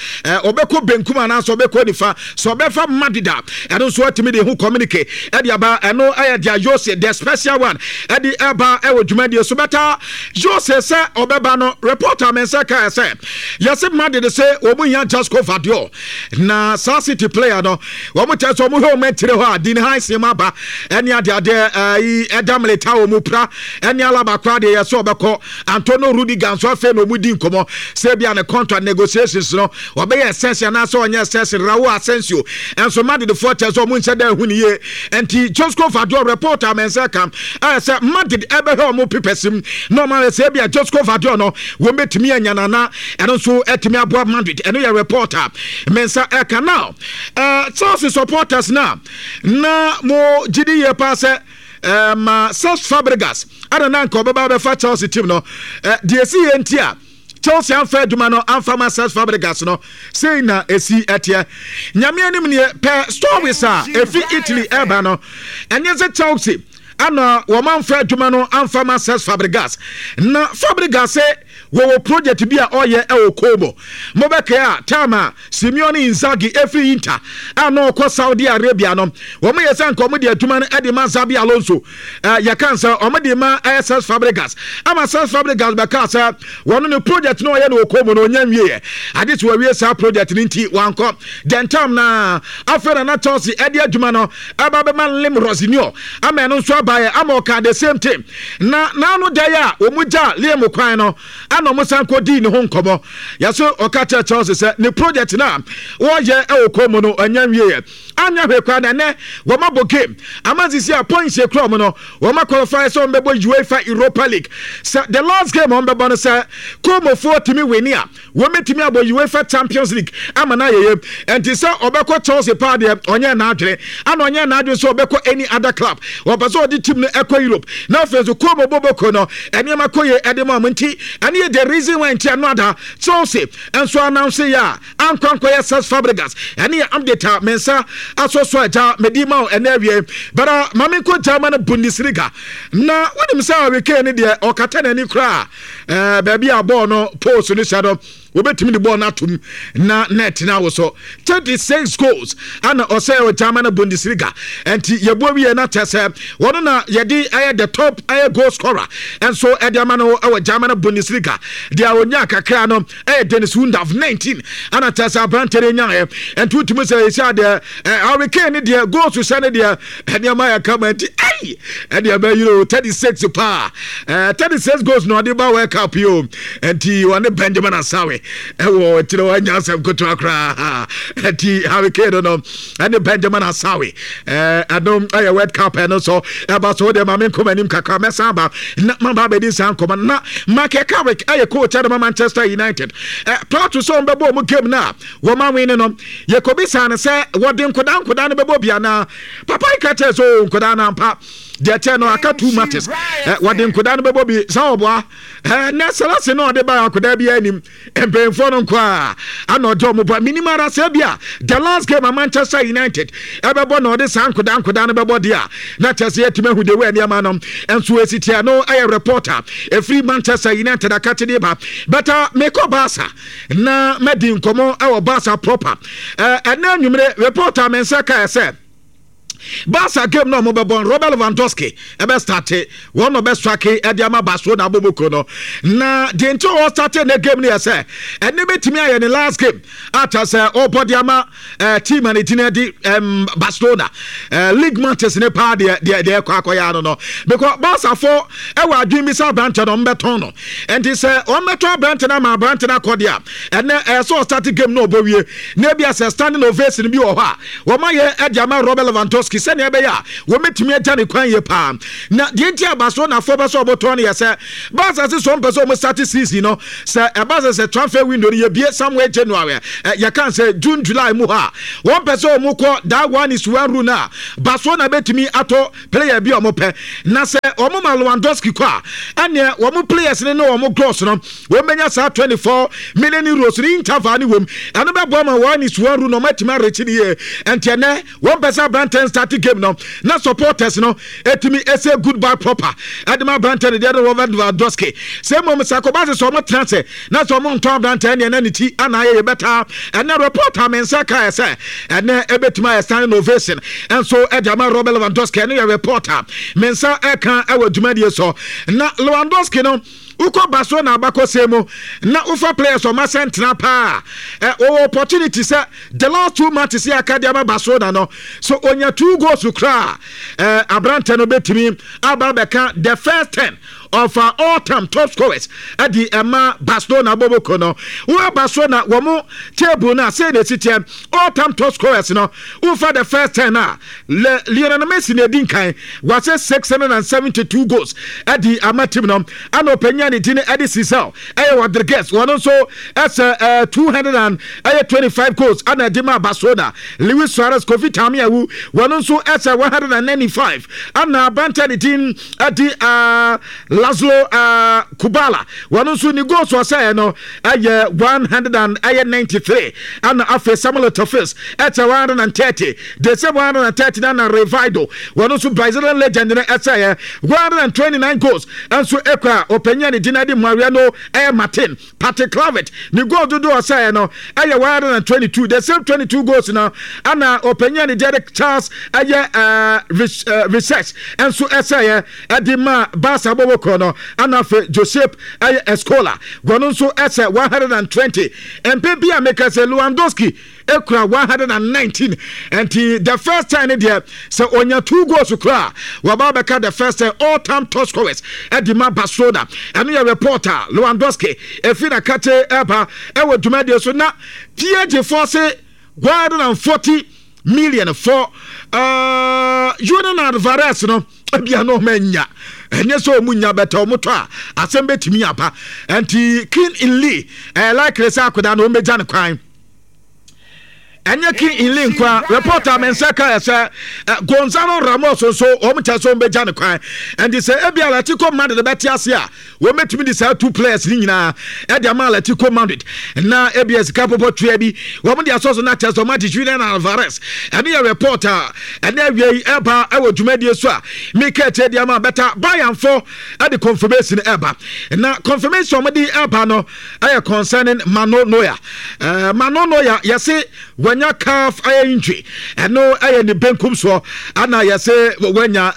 ɔbɛkɔ benkum anaasɛ ɔbɛkɔ nifa sɛ ɔbɛfa Madrid a, ɛno nso atumi de ho communique ɛde aba. Ɛno ɛyɛ deɛ Jose the special one ɛde ɛba ɛwɔ dwumadie so. Bɛta Jose sɛ ɔbɛba no, reporter mɛnsa kaa sɛ yɛsɛ Madrid sɛ wɔn hia Josko Gvardiol na saa City player no wɔn kyerɛ sɛ wɔn hwɛ wɔn akyire hɔ a Dean Huijsen mu aba ɛne adeadeɛ ɛyi ɛda Militao wɔn mu pra ɛne Alaba koraa deɛ yɛsɛ ɔbɛkɔ. Antonio Rudiger nso afei na wɔn di nkɔmɔ sɛ ebi a ne contract negotiations no ɔbɛyɛ extension anaasɛ ɔnyɛ extension. Raul Asensio nso Madridfoɔ kyerɛ sɛ wɔn nhyɛ da ehu ne yie. Nti Josko Gvardiol report a mɛnsa ka ɛyɛ sɛ Madrid ɛbɛhwɛ wɔn papers mu na wɔn ayɛ sɛ ebi a Josko Gvardiol no wɔn bɛtumi anya nana ɛno nso ɛtumi aboa Madrid. Ɛno yɛ report a mɛnsa ɛka. Now Chelsea supporters na mo gyidi yie paa sɛ ma Cesc Fabregas ɛna na nka ɔbɛba abɛfa Chelsea team no, deɛ esi yɛ nti a Chelsea amfa adwuma no amfa ma Cesc Fabregas no, sei na esi ɛteɛ. Nyame anim nie, pɛ stories a efi Italy ɛba no, ɛnyɛ sɛ Chelsea ana wɔn amfa adwuma no amfa ma Cesc Fabregas. Na Fabregas sɛ wɔwɔ project bi a ɔyɛ ɛwɔ Como. Mobɛkae a, time a Simeone Inzaghi efiri Inter a na ɔkɔ Saudi Arabia no, wɔn yɛ sɛ nka wɔn de adwuma no de ma Xabi Alonso. Yɛka sɛ wɔn de ma Cesc Fabregas ama Cesc Fabregas bɛka sɛ wɔn ne project no ɔyɛ no wɔ Como no ɔnya nwieɛ. Ade so wɔawie saa project no nti wankɔ. Dɛntam na afei na na Chelsea ɛde adwuma no ɛba bɛma Liam Rosenior ama ɛno nso abaeɛ ama ɔka the same thing. Na n'ano da yi a wɔn gya Liam kwan no ana wɔn san kɔ dii ne ho nkɔmɔ. Yɛso ɔka kyerɛ Chelsea sɛ ne project no a wɔyɛ ɛwɔ Como no ɔnya nwieɛ. Anyɛ hwee koraa na ɛnɛ wɔn abɔ game ama sisi a points ekura wɔn no wɔn akɔlify sɛ wɔn bɛbɔ UEFA Europa League. Sɛ the last game wɔn bɛbɔ no sɛ Como-foɔ tumi wini a, wɔn bɛtumi abɔ UEFA Champions League ama no ayɛyɛ. Ɛnti sɛ ɔbɛkɔ Chelsea paa deɛ ɔnyɛ n'adwene, ana ɔnyɛ n'adwene sɛ ɔbɛkɔ any other club. Ɔpɛ sɛ ɔde team no ɛkɔ Europe na afei nso Como bɔbɔko no nneɛma kɔ yie ɛde ma wɔn, nti ɛne yɛ the reason why nti ɛno ada Chelsea nso announce yɛ a ankɔ ankɔyɛ Cesc Fabregas. Ɛne yɛ update a me nsa asɔ so agya medi ma wo ɛnɛ awie. But ma menkɔ German Bundesliga na wonim sɛ Harry Kane ne deɛ ɔkata n'ani koraa baabi a bɔɔl no post no hyɛ no, wɔbɛtumi de bɔɔl no atom na net no awo so. 36 goals ana ɔsɛ wɔ German Bundesliga, ɛnti yɛbɔ wie na kyɛ sɛ wɔno na yɛde ɛyɛ the top ɛyɛ goal scorer ɛnso ɛde ama no ɛwɔ German Bundesliga. Deɛ ɔnya kakra no ɛyɛ Dennis Undav, 19 ana kyɛ sɛ aberante no nyaeɛ. Ɛnti wotumi sɛ ɛsi adeɛ Harry Kane ne deɛ goals hyɛ ne deɛ nneɛma yɛ kama, nti ɛyi ɛdeɛ bɛyere o. 36 paa, 36 goals na ɔde ba World Cup yi o. Nti ɔne Benjamin Asawe ɛwɔ akyire hɔ anya asɛm ketewa koraa. Nti Harry Kane no ɛne Benjamin Asawe ɛno ɛyɛ World Cup ɛno so ɛba so. Deɛ maame nkɔmɔ anim kakra, mɛsan aba na maba abɛdi nsa nkɔmɔ na Michael Carrick ɛyɛ coach ɛde ma Manchester United. Prior to sɛ wɔn bɛbɔ wɔn game no a wɔn awin no, yɛkɔbisaa no sɛ wɔde nkodaa nkodaa no bɛbɔ bi anaa. Papa yi ka kyerɛ sɛ o nkodaa no ampa deɛ kyɛ no aka two matches, wɔde nkodaa no bɛbɔ bi sɛ ɔboa nɛ sɛlase no ɔde ba akodaa bi anim mpanyinfoɔ no nko a ana ɔde ɔmo bɔ minim ara sɛ bi a the last game a Manchester United ɛbɛbɔ na ɔde saa nkodaa nkodaa no bɛbɔ deɛ a na kyerɛ sɛ yɛtumi ahu de wɔ nneɛma no nso esi tia no. Ɛyɛ reporter ɛfiri Manchester United akakyede ba bɛta. Mekɔ Barca na madi nkɔmmɔ ɛwɔ Barca proper. Ɛnɛ anwummere reporter me nsa kae sɛ Barca game na ɔmo bɛbɔ, Robert Lewandowski ɛbɛ starte, wɔn na ɔbɛ strike ɛde ama Barcelona aboboko no. Na deɛ nti ɔwɔ starte ne game no yɛ sɛ ɛne bɛtumi ayɛ ne last game ata sɛ ɔbɔ de ama team a ne din ɛde Barcelona. League matches ne paa deɛ deɛ deɛ ɛkɔ akɔyɛ ano no, because Barca fo ɛwɔ adwene bi sɛ aberante no ɔmbɛtɔn no. Nti sɛ ɔmbɛtɔn aberante no ama aberante no akɔ deɛ a, ɛnɛ ɛyɛ sɛ ɔstarte game no ɔbɔ wie na ebi asɛ standing ovation bi wɔ hɔ a wɔn ayɛ ɛde ama Robert Lewandowski. Lewandowski sɛnea ɛbɛyɛ a wɔbɛtumi agya ne kwan yie paa. Na deɛ nti a Barcelonafoɔ pɛ sɛ wɔtɔn no yɛ sɛ Barca se sɛ wɔmpɛ sɛ wɔn start season no sɛ ɛba sɛ sɛ transfer window no yɛbie somewhere January yɛka sɛ June July mu hɔ a wɔmpɛ sɛ wɔn kɔ that one is one rule no a Barcelona bɛtumi atɔ player bi a wɔpɛ na sɛ wɔn ma Lewandowski kɔ a ɛneɛ wɔn players no ne wɔn gross no wɔn bɛnya saa 24 million euros no interval ne wɔm ɛno bɛboa ma wɔn is one rule no wɔatumi arekyi ne yie ɛnti ɛnɛ Wɔn pɛ sɛ aberanteɛ no start game no na supporters no etumi ese goodbye proper ɛde ma aberanteɛ no deɛ de Robert Lewandowski. Sɛ mmom sɛ akɔba sɛ sɛ wɔn tena ase na sɛ wɔn ntɔn aberanteɛ no deɛ na ne ti ana ayɛ yɛ bɛtaa. Ɛnɛ report a me nsa kaeɛ sɛ ɛnɛ ebetumi ayɛ standing ovation nso ɛde ama Robert Lewandowski ɛno yɛ report a me nsa ɛka ɛwɔ dwumadie so. Na Lewandowski no Wokɔ Barcelona abakɔsɛm mu na wofa players ɔma sɛ ntena paa ɛ wɔwɔ opportunity sɛ the last two matches yɛ aka de ama Barcelona no so onya two goals koraa ɛ aberantɛ no bɛtumi aba abɛka the first ten of uh, all time top scorers ɛde ɛma Barcelona bɔbɔko no woa Barcelona wɔn table no a sɛ na ɛsi teɛ all time top scorers no wofa the first ten a Le Lionel Messi na edi nkan, wahyɛ 672 goals de ama team no. Ɛna ɔpanyin a ne din de Cesar ɛyɛ Rodriguez, wɔn nso ɛsɛ ɛɛ 225 goals ɛna ɛde ma Barcelona. Luis Suarez, Kofi Tamiawu, wɔn nso ɛsɛ 195. Ɛna aberanteɛ ne din de ɛɛ Laszlo ɛɛ Kubala, wɔn nso ne goals ɔsɛɛ no ɛyɛ 193. Ɛna afei Samuel Eto'o ɛsɛ 130. The same 139 na Rivaldo, wɔn nso Brazilian legend no ɛsɛeɛ 129 goals nso ekura ɔpanyin a ne din adi Mariano ɛyɛ Martin Patrick Kluivert ne goal dodoɔ ɔsɛeɛ no ɛyɛ 122 the same 22 goals no ana ɔpanyin a ne din adi Charles ɛyɛ ɛɛ Research nso ɛsɛeɛ ɛde ma Barca bɔbɔ no ana afei Josep ɛyɛ Escola wɔn nso ɛsɛ 120 mpɛ bi a meka sɛ Lewandowski ekura 119 nti the first time ne deɛ sɛ onya two goals kura wɔba bɛka the first time all time top scorers ɛde ma Barcelona ɛno yɛ report a Lewandowski efi na kate ɛba ɛwɔ dwumadie so na PSG foɔ se 140 million for uh, Julian Alvarez no ebia na ɔma anya ɛnyɛ sɛ ɔmu nya bɛtɛ ɔmo tɔ a asɛm bɛtumi aba nti King in Lee ɛyɛ likely sɛ akwadaa no ɔmbɛgya no kwan ɛnyɛ king inli nkoa reporter me nsa ka sɛ eh, gonzalo ramos nso wɔn kyɛ sɛ wɔn bɛgya ne kwan ɛnti sɛ ebi atletico madrid bɛte ase a wɔn bɛtumi de saa two players ne nyinaa ɛde ama atletico madrid na ebi sika pɔpɔ tua bi wɔn de asɔ so na kyɛ sɛ wɔn agye julian alvarez ɛne yɛ report a ɛne awia yi ɛba ɛwɔ dwumadie so a mika ɛkyɛ de ama bɛta bayernfo ɛde confirmation ɛba na confirmation wɔn de ɛba no ɛyɛ concerning Mano Neuer. Uh, Mano Neuer yɛse wanya calf ɛyɛ injury ɛno ɛyɛ ne benkum soɔ ana yɛse wanya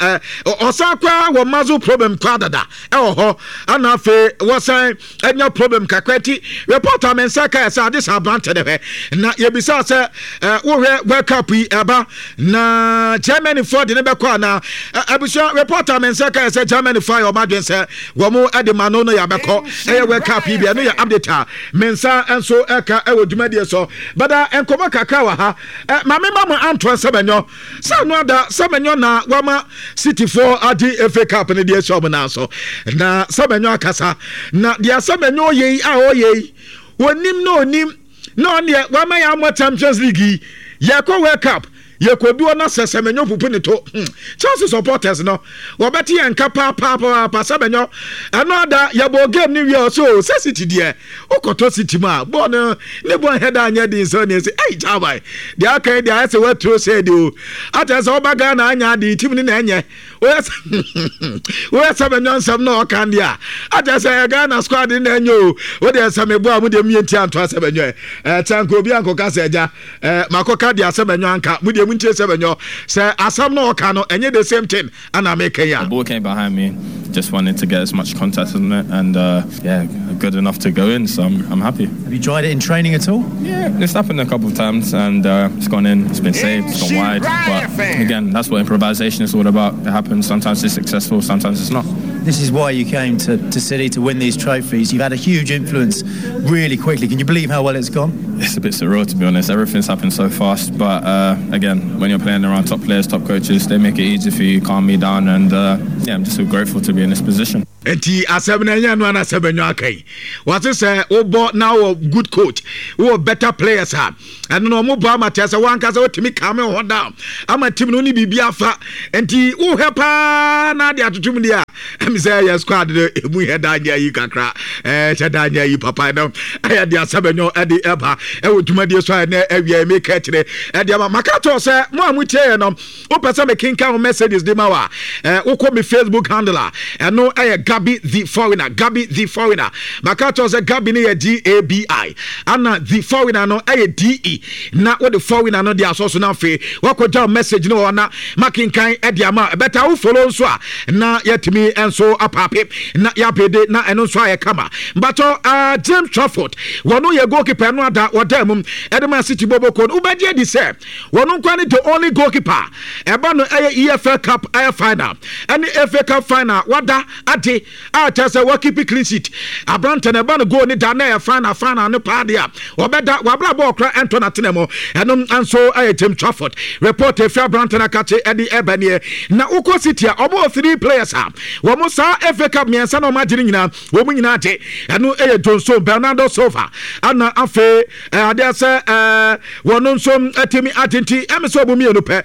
ɔsan koraa wɔ muscle problem koraa dada ɛwɔ hɔ ana afei wɔsan anya problem kakra nti report a me nsa ka sɛ ade sɛ aberante ne hwɛ na yɛbisa sɛ wohwɛ World Cup yi ɛba na Germany foɔ de ne bɛkɔ anaa abusua report a me nsa ka sɛ Germany foɔ ayɛ ɔmo adwene sɛ wɔn de ma no no yɛ abɛkɔ ɛyɛ World Cup yi bi ɛno yɛ update a me nsa nso ɛka ɛwɔ dwumadie so bada nkɔmɔ kakra wɔ ha ɛ maame ma mo antoa sɛmɛnyɔ sɛ ano ada sɛmɛnyɔ na wama Cityfoɔ agye FA Cup no deɛ ɛhyɛ wɔn nan so na sɛmɛnyɔ akasa na deɛ sɛmɛnyɔ yɛ yi a ɔyɛ yi onim na onim na ɔneɛ wama yɛ amɔ Champions League yi yɛkɔ World Cup Yɛkɔduo na sɛ Semenyo pupu ne to hmm. Chelsea supporters no wɔbɛte yɛn nka paapaapaapa Semenyo ɛno ada yɛbɔɔ game no wie ɔsɛ o sɛ City deɛ wokɔtɔ City mu a bɔɔl no ne bɔ nhɛ da anyɛ den sɛ ɔneɛ sɛ ei gyaban deɛ aka yi deɛ ayɛ sɛ woaturo sɛ deɛ o atɛ sɛ woba Ghana anya ade team no na ɛnyɛ woyɛ sɛ woyɛ sɛ bɛnyɔ nsɛm na ɔka deɛ a akyɛ sɛ ɛyɛ Ghana squad na ɛnyɛ o wodeɛ sɛ meboa mo deɛ meyɛ nti anto asɛ bɛnyɔ ɛ kyɛ nka obi ankɔka sɛ agya ɛ makɔka deɛ asɛ bɛnyɔ anka mo deɛ montie sɛ bɛnyɔ sɛ asɛm na ɔka no ɛnyɛ the same thing ana meka yi a. The ball came behind me, just wanted to get as much contact on it and uh, yeah, good enough to go in, so I'm, I'm happy. Have you tried it in training at all? Yeah, it's happened a couple of times and uh, it's gone in, it's been saved, it's gone wide. But again, that's what improvisation is all about. It happens. Sometimes it's successful, sometimes it's not. This is why you came to, to City to win these trophies. You've had a huge influence really quickly. Can you believe how well it's gone? It's a bit surreal, to be honest. Everything's happened so fast. But uh, again, when you're playing around top players, top coaches, they make it easy for you, calm me down. And uh, yeah, I'm just so grateful to be in this position. Nti asɛm no ɛnyɛ no ana sɛ bɛnyɔ aka yi wɔse sɛ wobɔ na wɔ good coach wowɔ better players a ɛno no ɔmo bɔ ama kyerɛ sɛ wankasa wotumi kame wo ho down ama team no ne biribi afa nti wohwɛ paa na ade atoto mu deɛ a ɛmi sɛ yɛ squad no emu yɛ da nyɛ yi kakra ɛɛ hyɛ da nyɛ yi papa no ɛyɛ de asɛm ɛnyɔ ɛde ɛba ɛwɔ dwumadie so a ɛnɛ ɛwia ɛmi ka kyerɛ ɛde ama maka kyerɛ sɛ mo a mo tie yɛ no Wopɛ sɛ mekenkan wo messages de ma wo a, eh, wokɔ me Facebook handle a, ɛno ɛyɛ Gabi the Foreigner. Gabi the Foreigner. Maka kyerɛ sɛ Gabi no yɛ G-A-B-I, ana the Foreigner no ɛyɛ D-E. Na wode Foreigner no de asɔ so na afei wakɔgya wo message no wɔ hɔ na makenkan de ama. Ɛbɛta wo follow nso a, na yɛatumi nso apaape na yɛabede na ɛno nso ayɛ kama. Mbatɔ uh, James Trafford, wɔno yɛ goalkeeper no ada wɔda mu ɛde ma City Boboko. Wobɛgye adi sɛ Wɔn nkoa ne the only goalkeeper a ɛba no ɛyɛ EFL Cup ɛyɛ final ɛne FA Cup final wada ade a kyerɛ sɛ wakipi clean sheet. Aberante no ɛba no goal ne da na ɛyɛ final final no paa deɛ a ɔbɛda wabra bɔɔl kora ɛntɔ n'atena mu. Ɛno nso ɛyɛ James Trafford report efi aberante no akakye ɛde ɛba nie. Na wokɔ City a wɔn wɔ three players a wɔn saa FA Cup mmiɛnsa na wɔn agye no nyinaa wɔn nyinaa agye. Ɛno ɛyɛ John Stones, Bernardo Silva ana afei adeɛ sɛ wɔn nso atumi agye nti ɛmi sɛ wɔn mmienu pɛ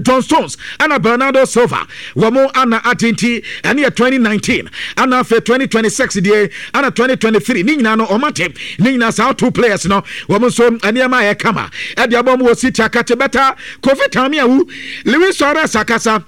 John Stones ɛna Bernardo Silva wɔn ana agye nti ɛne yɛ 2019 ɛna afei 2026 deɛ ɛna 2023 ne nyinaa no wɔn agye ne nyinaa saa two players no wɔn nso nneɛma ayɛ kama ɛde abɔ mu wɔ City akakye bɛta Kofi Tamiawu Luis Suarez akasa.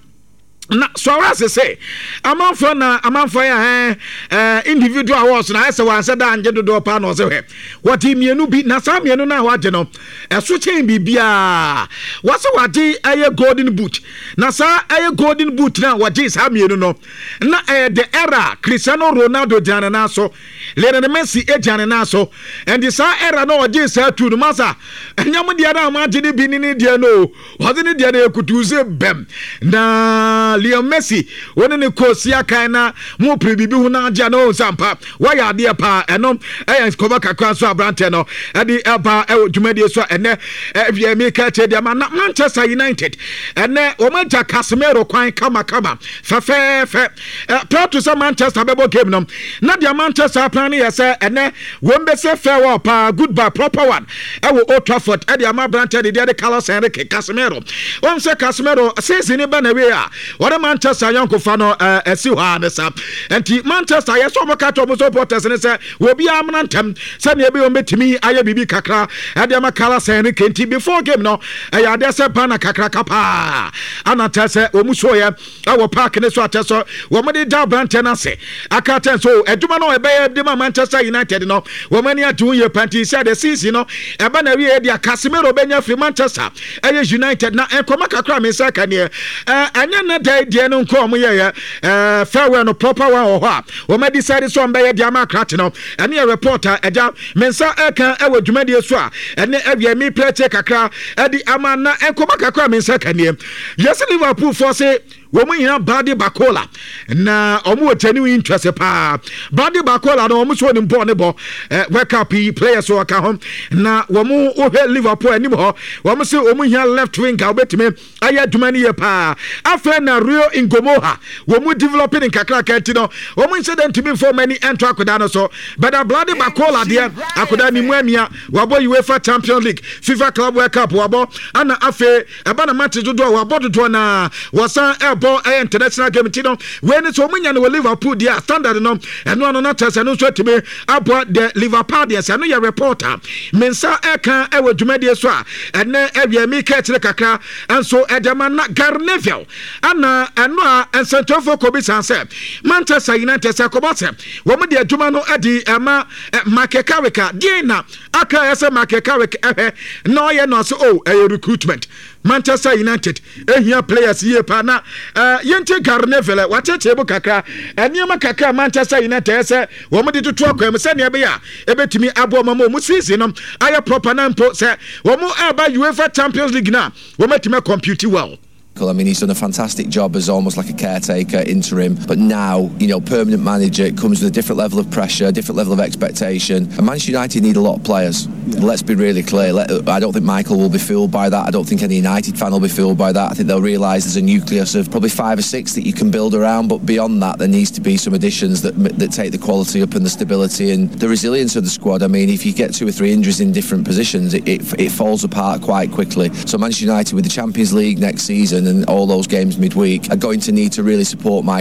Na Suarez se amanfoɔ na amanfoɔ yɛ ɛɛ ɛɛ individual awards na ayɛ sɛ wansɛ da angye dodoɔ paa na ɔsɛ hwɛ wɔde mmienu bi na saa mmienu no a wagye no ɛso kyɛn biribiara wɔsɛ wagye ɛyɛ golden boot na saa ɛyɛ golden boot na wɔgye saa mmienu no na ɛyɛ the era Cristiano Ronaldo gyina ne nan so Lionel Messi gyina ne nan so ɛnti saa era na ɔgye saa tu no masa ɛnyɛ mo deɛ na mo agye ne bi ne ne deɛ no o Ɔdze ne deɛ no ekutuw dze bɛm na Lionel Messi wo ne ne kɔ si akan na mo pere biribi ho na agye a na ɔhu sɛ ampa wayɛ adeɛ paa. Ɛno ɛyɛ nkɔmɔ kakra nso aberanteɛ no ɛde ɛba ɛwɔ dwumadie so a ɛnɛ ɛwiɛ mi ka kyerɛ deɛ ma na Manchester United ɛnɛ wɔn agya Casemiro kwan kamakama fɛfɛɛfɛ prior to sɛ Manchester bɛbɔ game no na deɛ Manchester plan no yɛ sɛ ɛnɛ wɔn bɛsɛ farewell paa goodbye proper one ɛwɔ Old Trafford ɛde ama aberanteɛ de deɛ de Carlos Enrique Casemiro. Wɔn sɛ Casemiro season ne ba na wie a wɔde Manchester ayɔnkofa no ɛsi hɔ a ne sa. Nti Manchester yɛ sɛ wɔn ka kyerɛ wɔn supporters ne sɛ obiara amena ntɛm sɛnea ebi wɔn bɛtumi ayɛ biribi kakra ɛde ama Carlos Enrique. Nti before game no ɛyɛ adeɛ sɛ banner kakraka paa ana kyerɛ sɛ wɔn so yɛ ɛwɔ park ne so akyɛ sɛ wɔn de da aberanteɛ no ase aka kyɛn so adwuma no ɛbɛyɛ de ma Manchester United no wɔn ani agye ho yie panti sɛ de season no ɛba na awie deɛ Casemiro bɛnya firi Manchester ɛyɛ United na nkɔmɔ kakra me nsa ka neɛ ɛnyɛ ne da deɛ no nko wɔn yɛyɛ ɛɛ farewell no proper one wɔ hɔ a wɔn adi sɛ de sɛ wɔn bɛyɛ de ama akrakye no ɛne yɛ report a ɛgya me nsa ɛka ɛwɔ dwumadie so a ɛne ɛwiɛ mi pɛrɛkyɛ kakra ɛde ama na nkɔmɔ kakra me nsa ka neɛ Yɛse Liverpool foɔ se wɔn hia Bradley Barcola na wɔn wɔ genuine interest paa. Bradley Barcola no wɔn so wɔn bɔɔl ne bɔ eh, World Cup yi players wɔka ho na wɔn wohwɛ Liverpool anim hɔ wɔn se wɔn hia left wing a wɔbɛtumi ayɛ adwuma no yie paa. Afei na Rio Ngumoha wɔn developing nkakraka nti no wɔn nhyɛ dɛ ntumi nfa wɔn ani nto akoda no so. Bɛda Bradley Barcola deɛ akoda ne mu amia wabɔ UEFA Champions League, FIFA Club World Cup wabɔ ana afei Ɛba no matches dodoɔ a wɔabɔ dodoɔ no ara wɔsan ɛrebɔ ɛyɛ international game nti no wei ne sɛ wɔn nya no wɔ Liverpool deɛ a standard no ɛno ano na kyerɛ sɛ ɛno nso atumi aboa the Liverpool deɛ sɛ ɛno yɛ report a me nsa ɛka ɛwɔ dwumadie so a ɛnɛ ɛwiɛ mi ka akyire kakra nso ɛde ama na Gary Neville ɛna ɛno a nsɛntwerɛfoɔ kɔ bi san sɛ Manchester United sɛ kɔbɔ sɛ wɔn de adwuma no ɛde ɛma Michael Carrick a deɛ na Aka yɛ sɛ Michael Carrick ɛhwɛ na ɔyɛ no ase oh ɛyɛ recruitment Manchester United ehia players yie paa na uh, yɛnti Gary Neville wakyerɛkyerɛ mu kakra nneɛma kakra Manchester United ɛyɛ sɛ wɔn de toto akwan mu sɛnea ɛbɛyɛ a ɛbɛtumi aboa wɔn ama wɔn season no ayɛ proper na mpo sɛ wɔn ɛreba UEFA Champions League no a wɔn atumi compete well. I mean, he's done a fantastic job as almost like a caretaker, interim. But now, you know, permanent manager, it comes with a different level of pressure, a different level of expectation. And Manchester United need a lot of players. Yeah. Let's be really clear. Let, I don't think Michael will be fooled by that. I don't think any United fan will be fooled by that. I think they'll realise there's a nucleus of probably five or six that you can build around. But beyond that, there needs to be some additions that that take the quality up and the stability and the resilience of the squad. I mean, if you get two or three injuries in different positions, it, it, it falls apart quite quickly. So Manchester United with the Champions League next season and all those games midweek are going to need to really support Michael.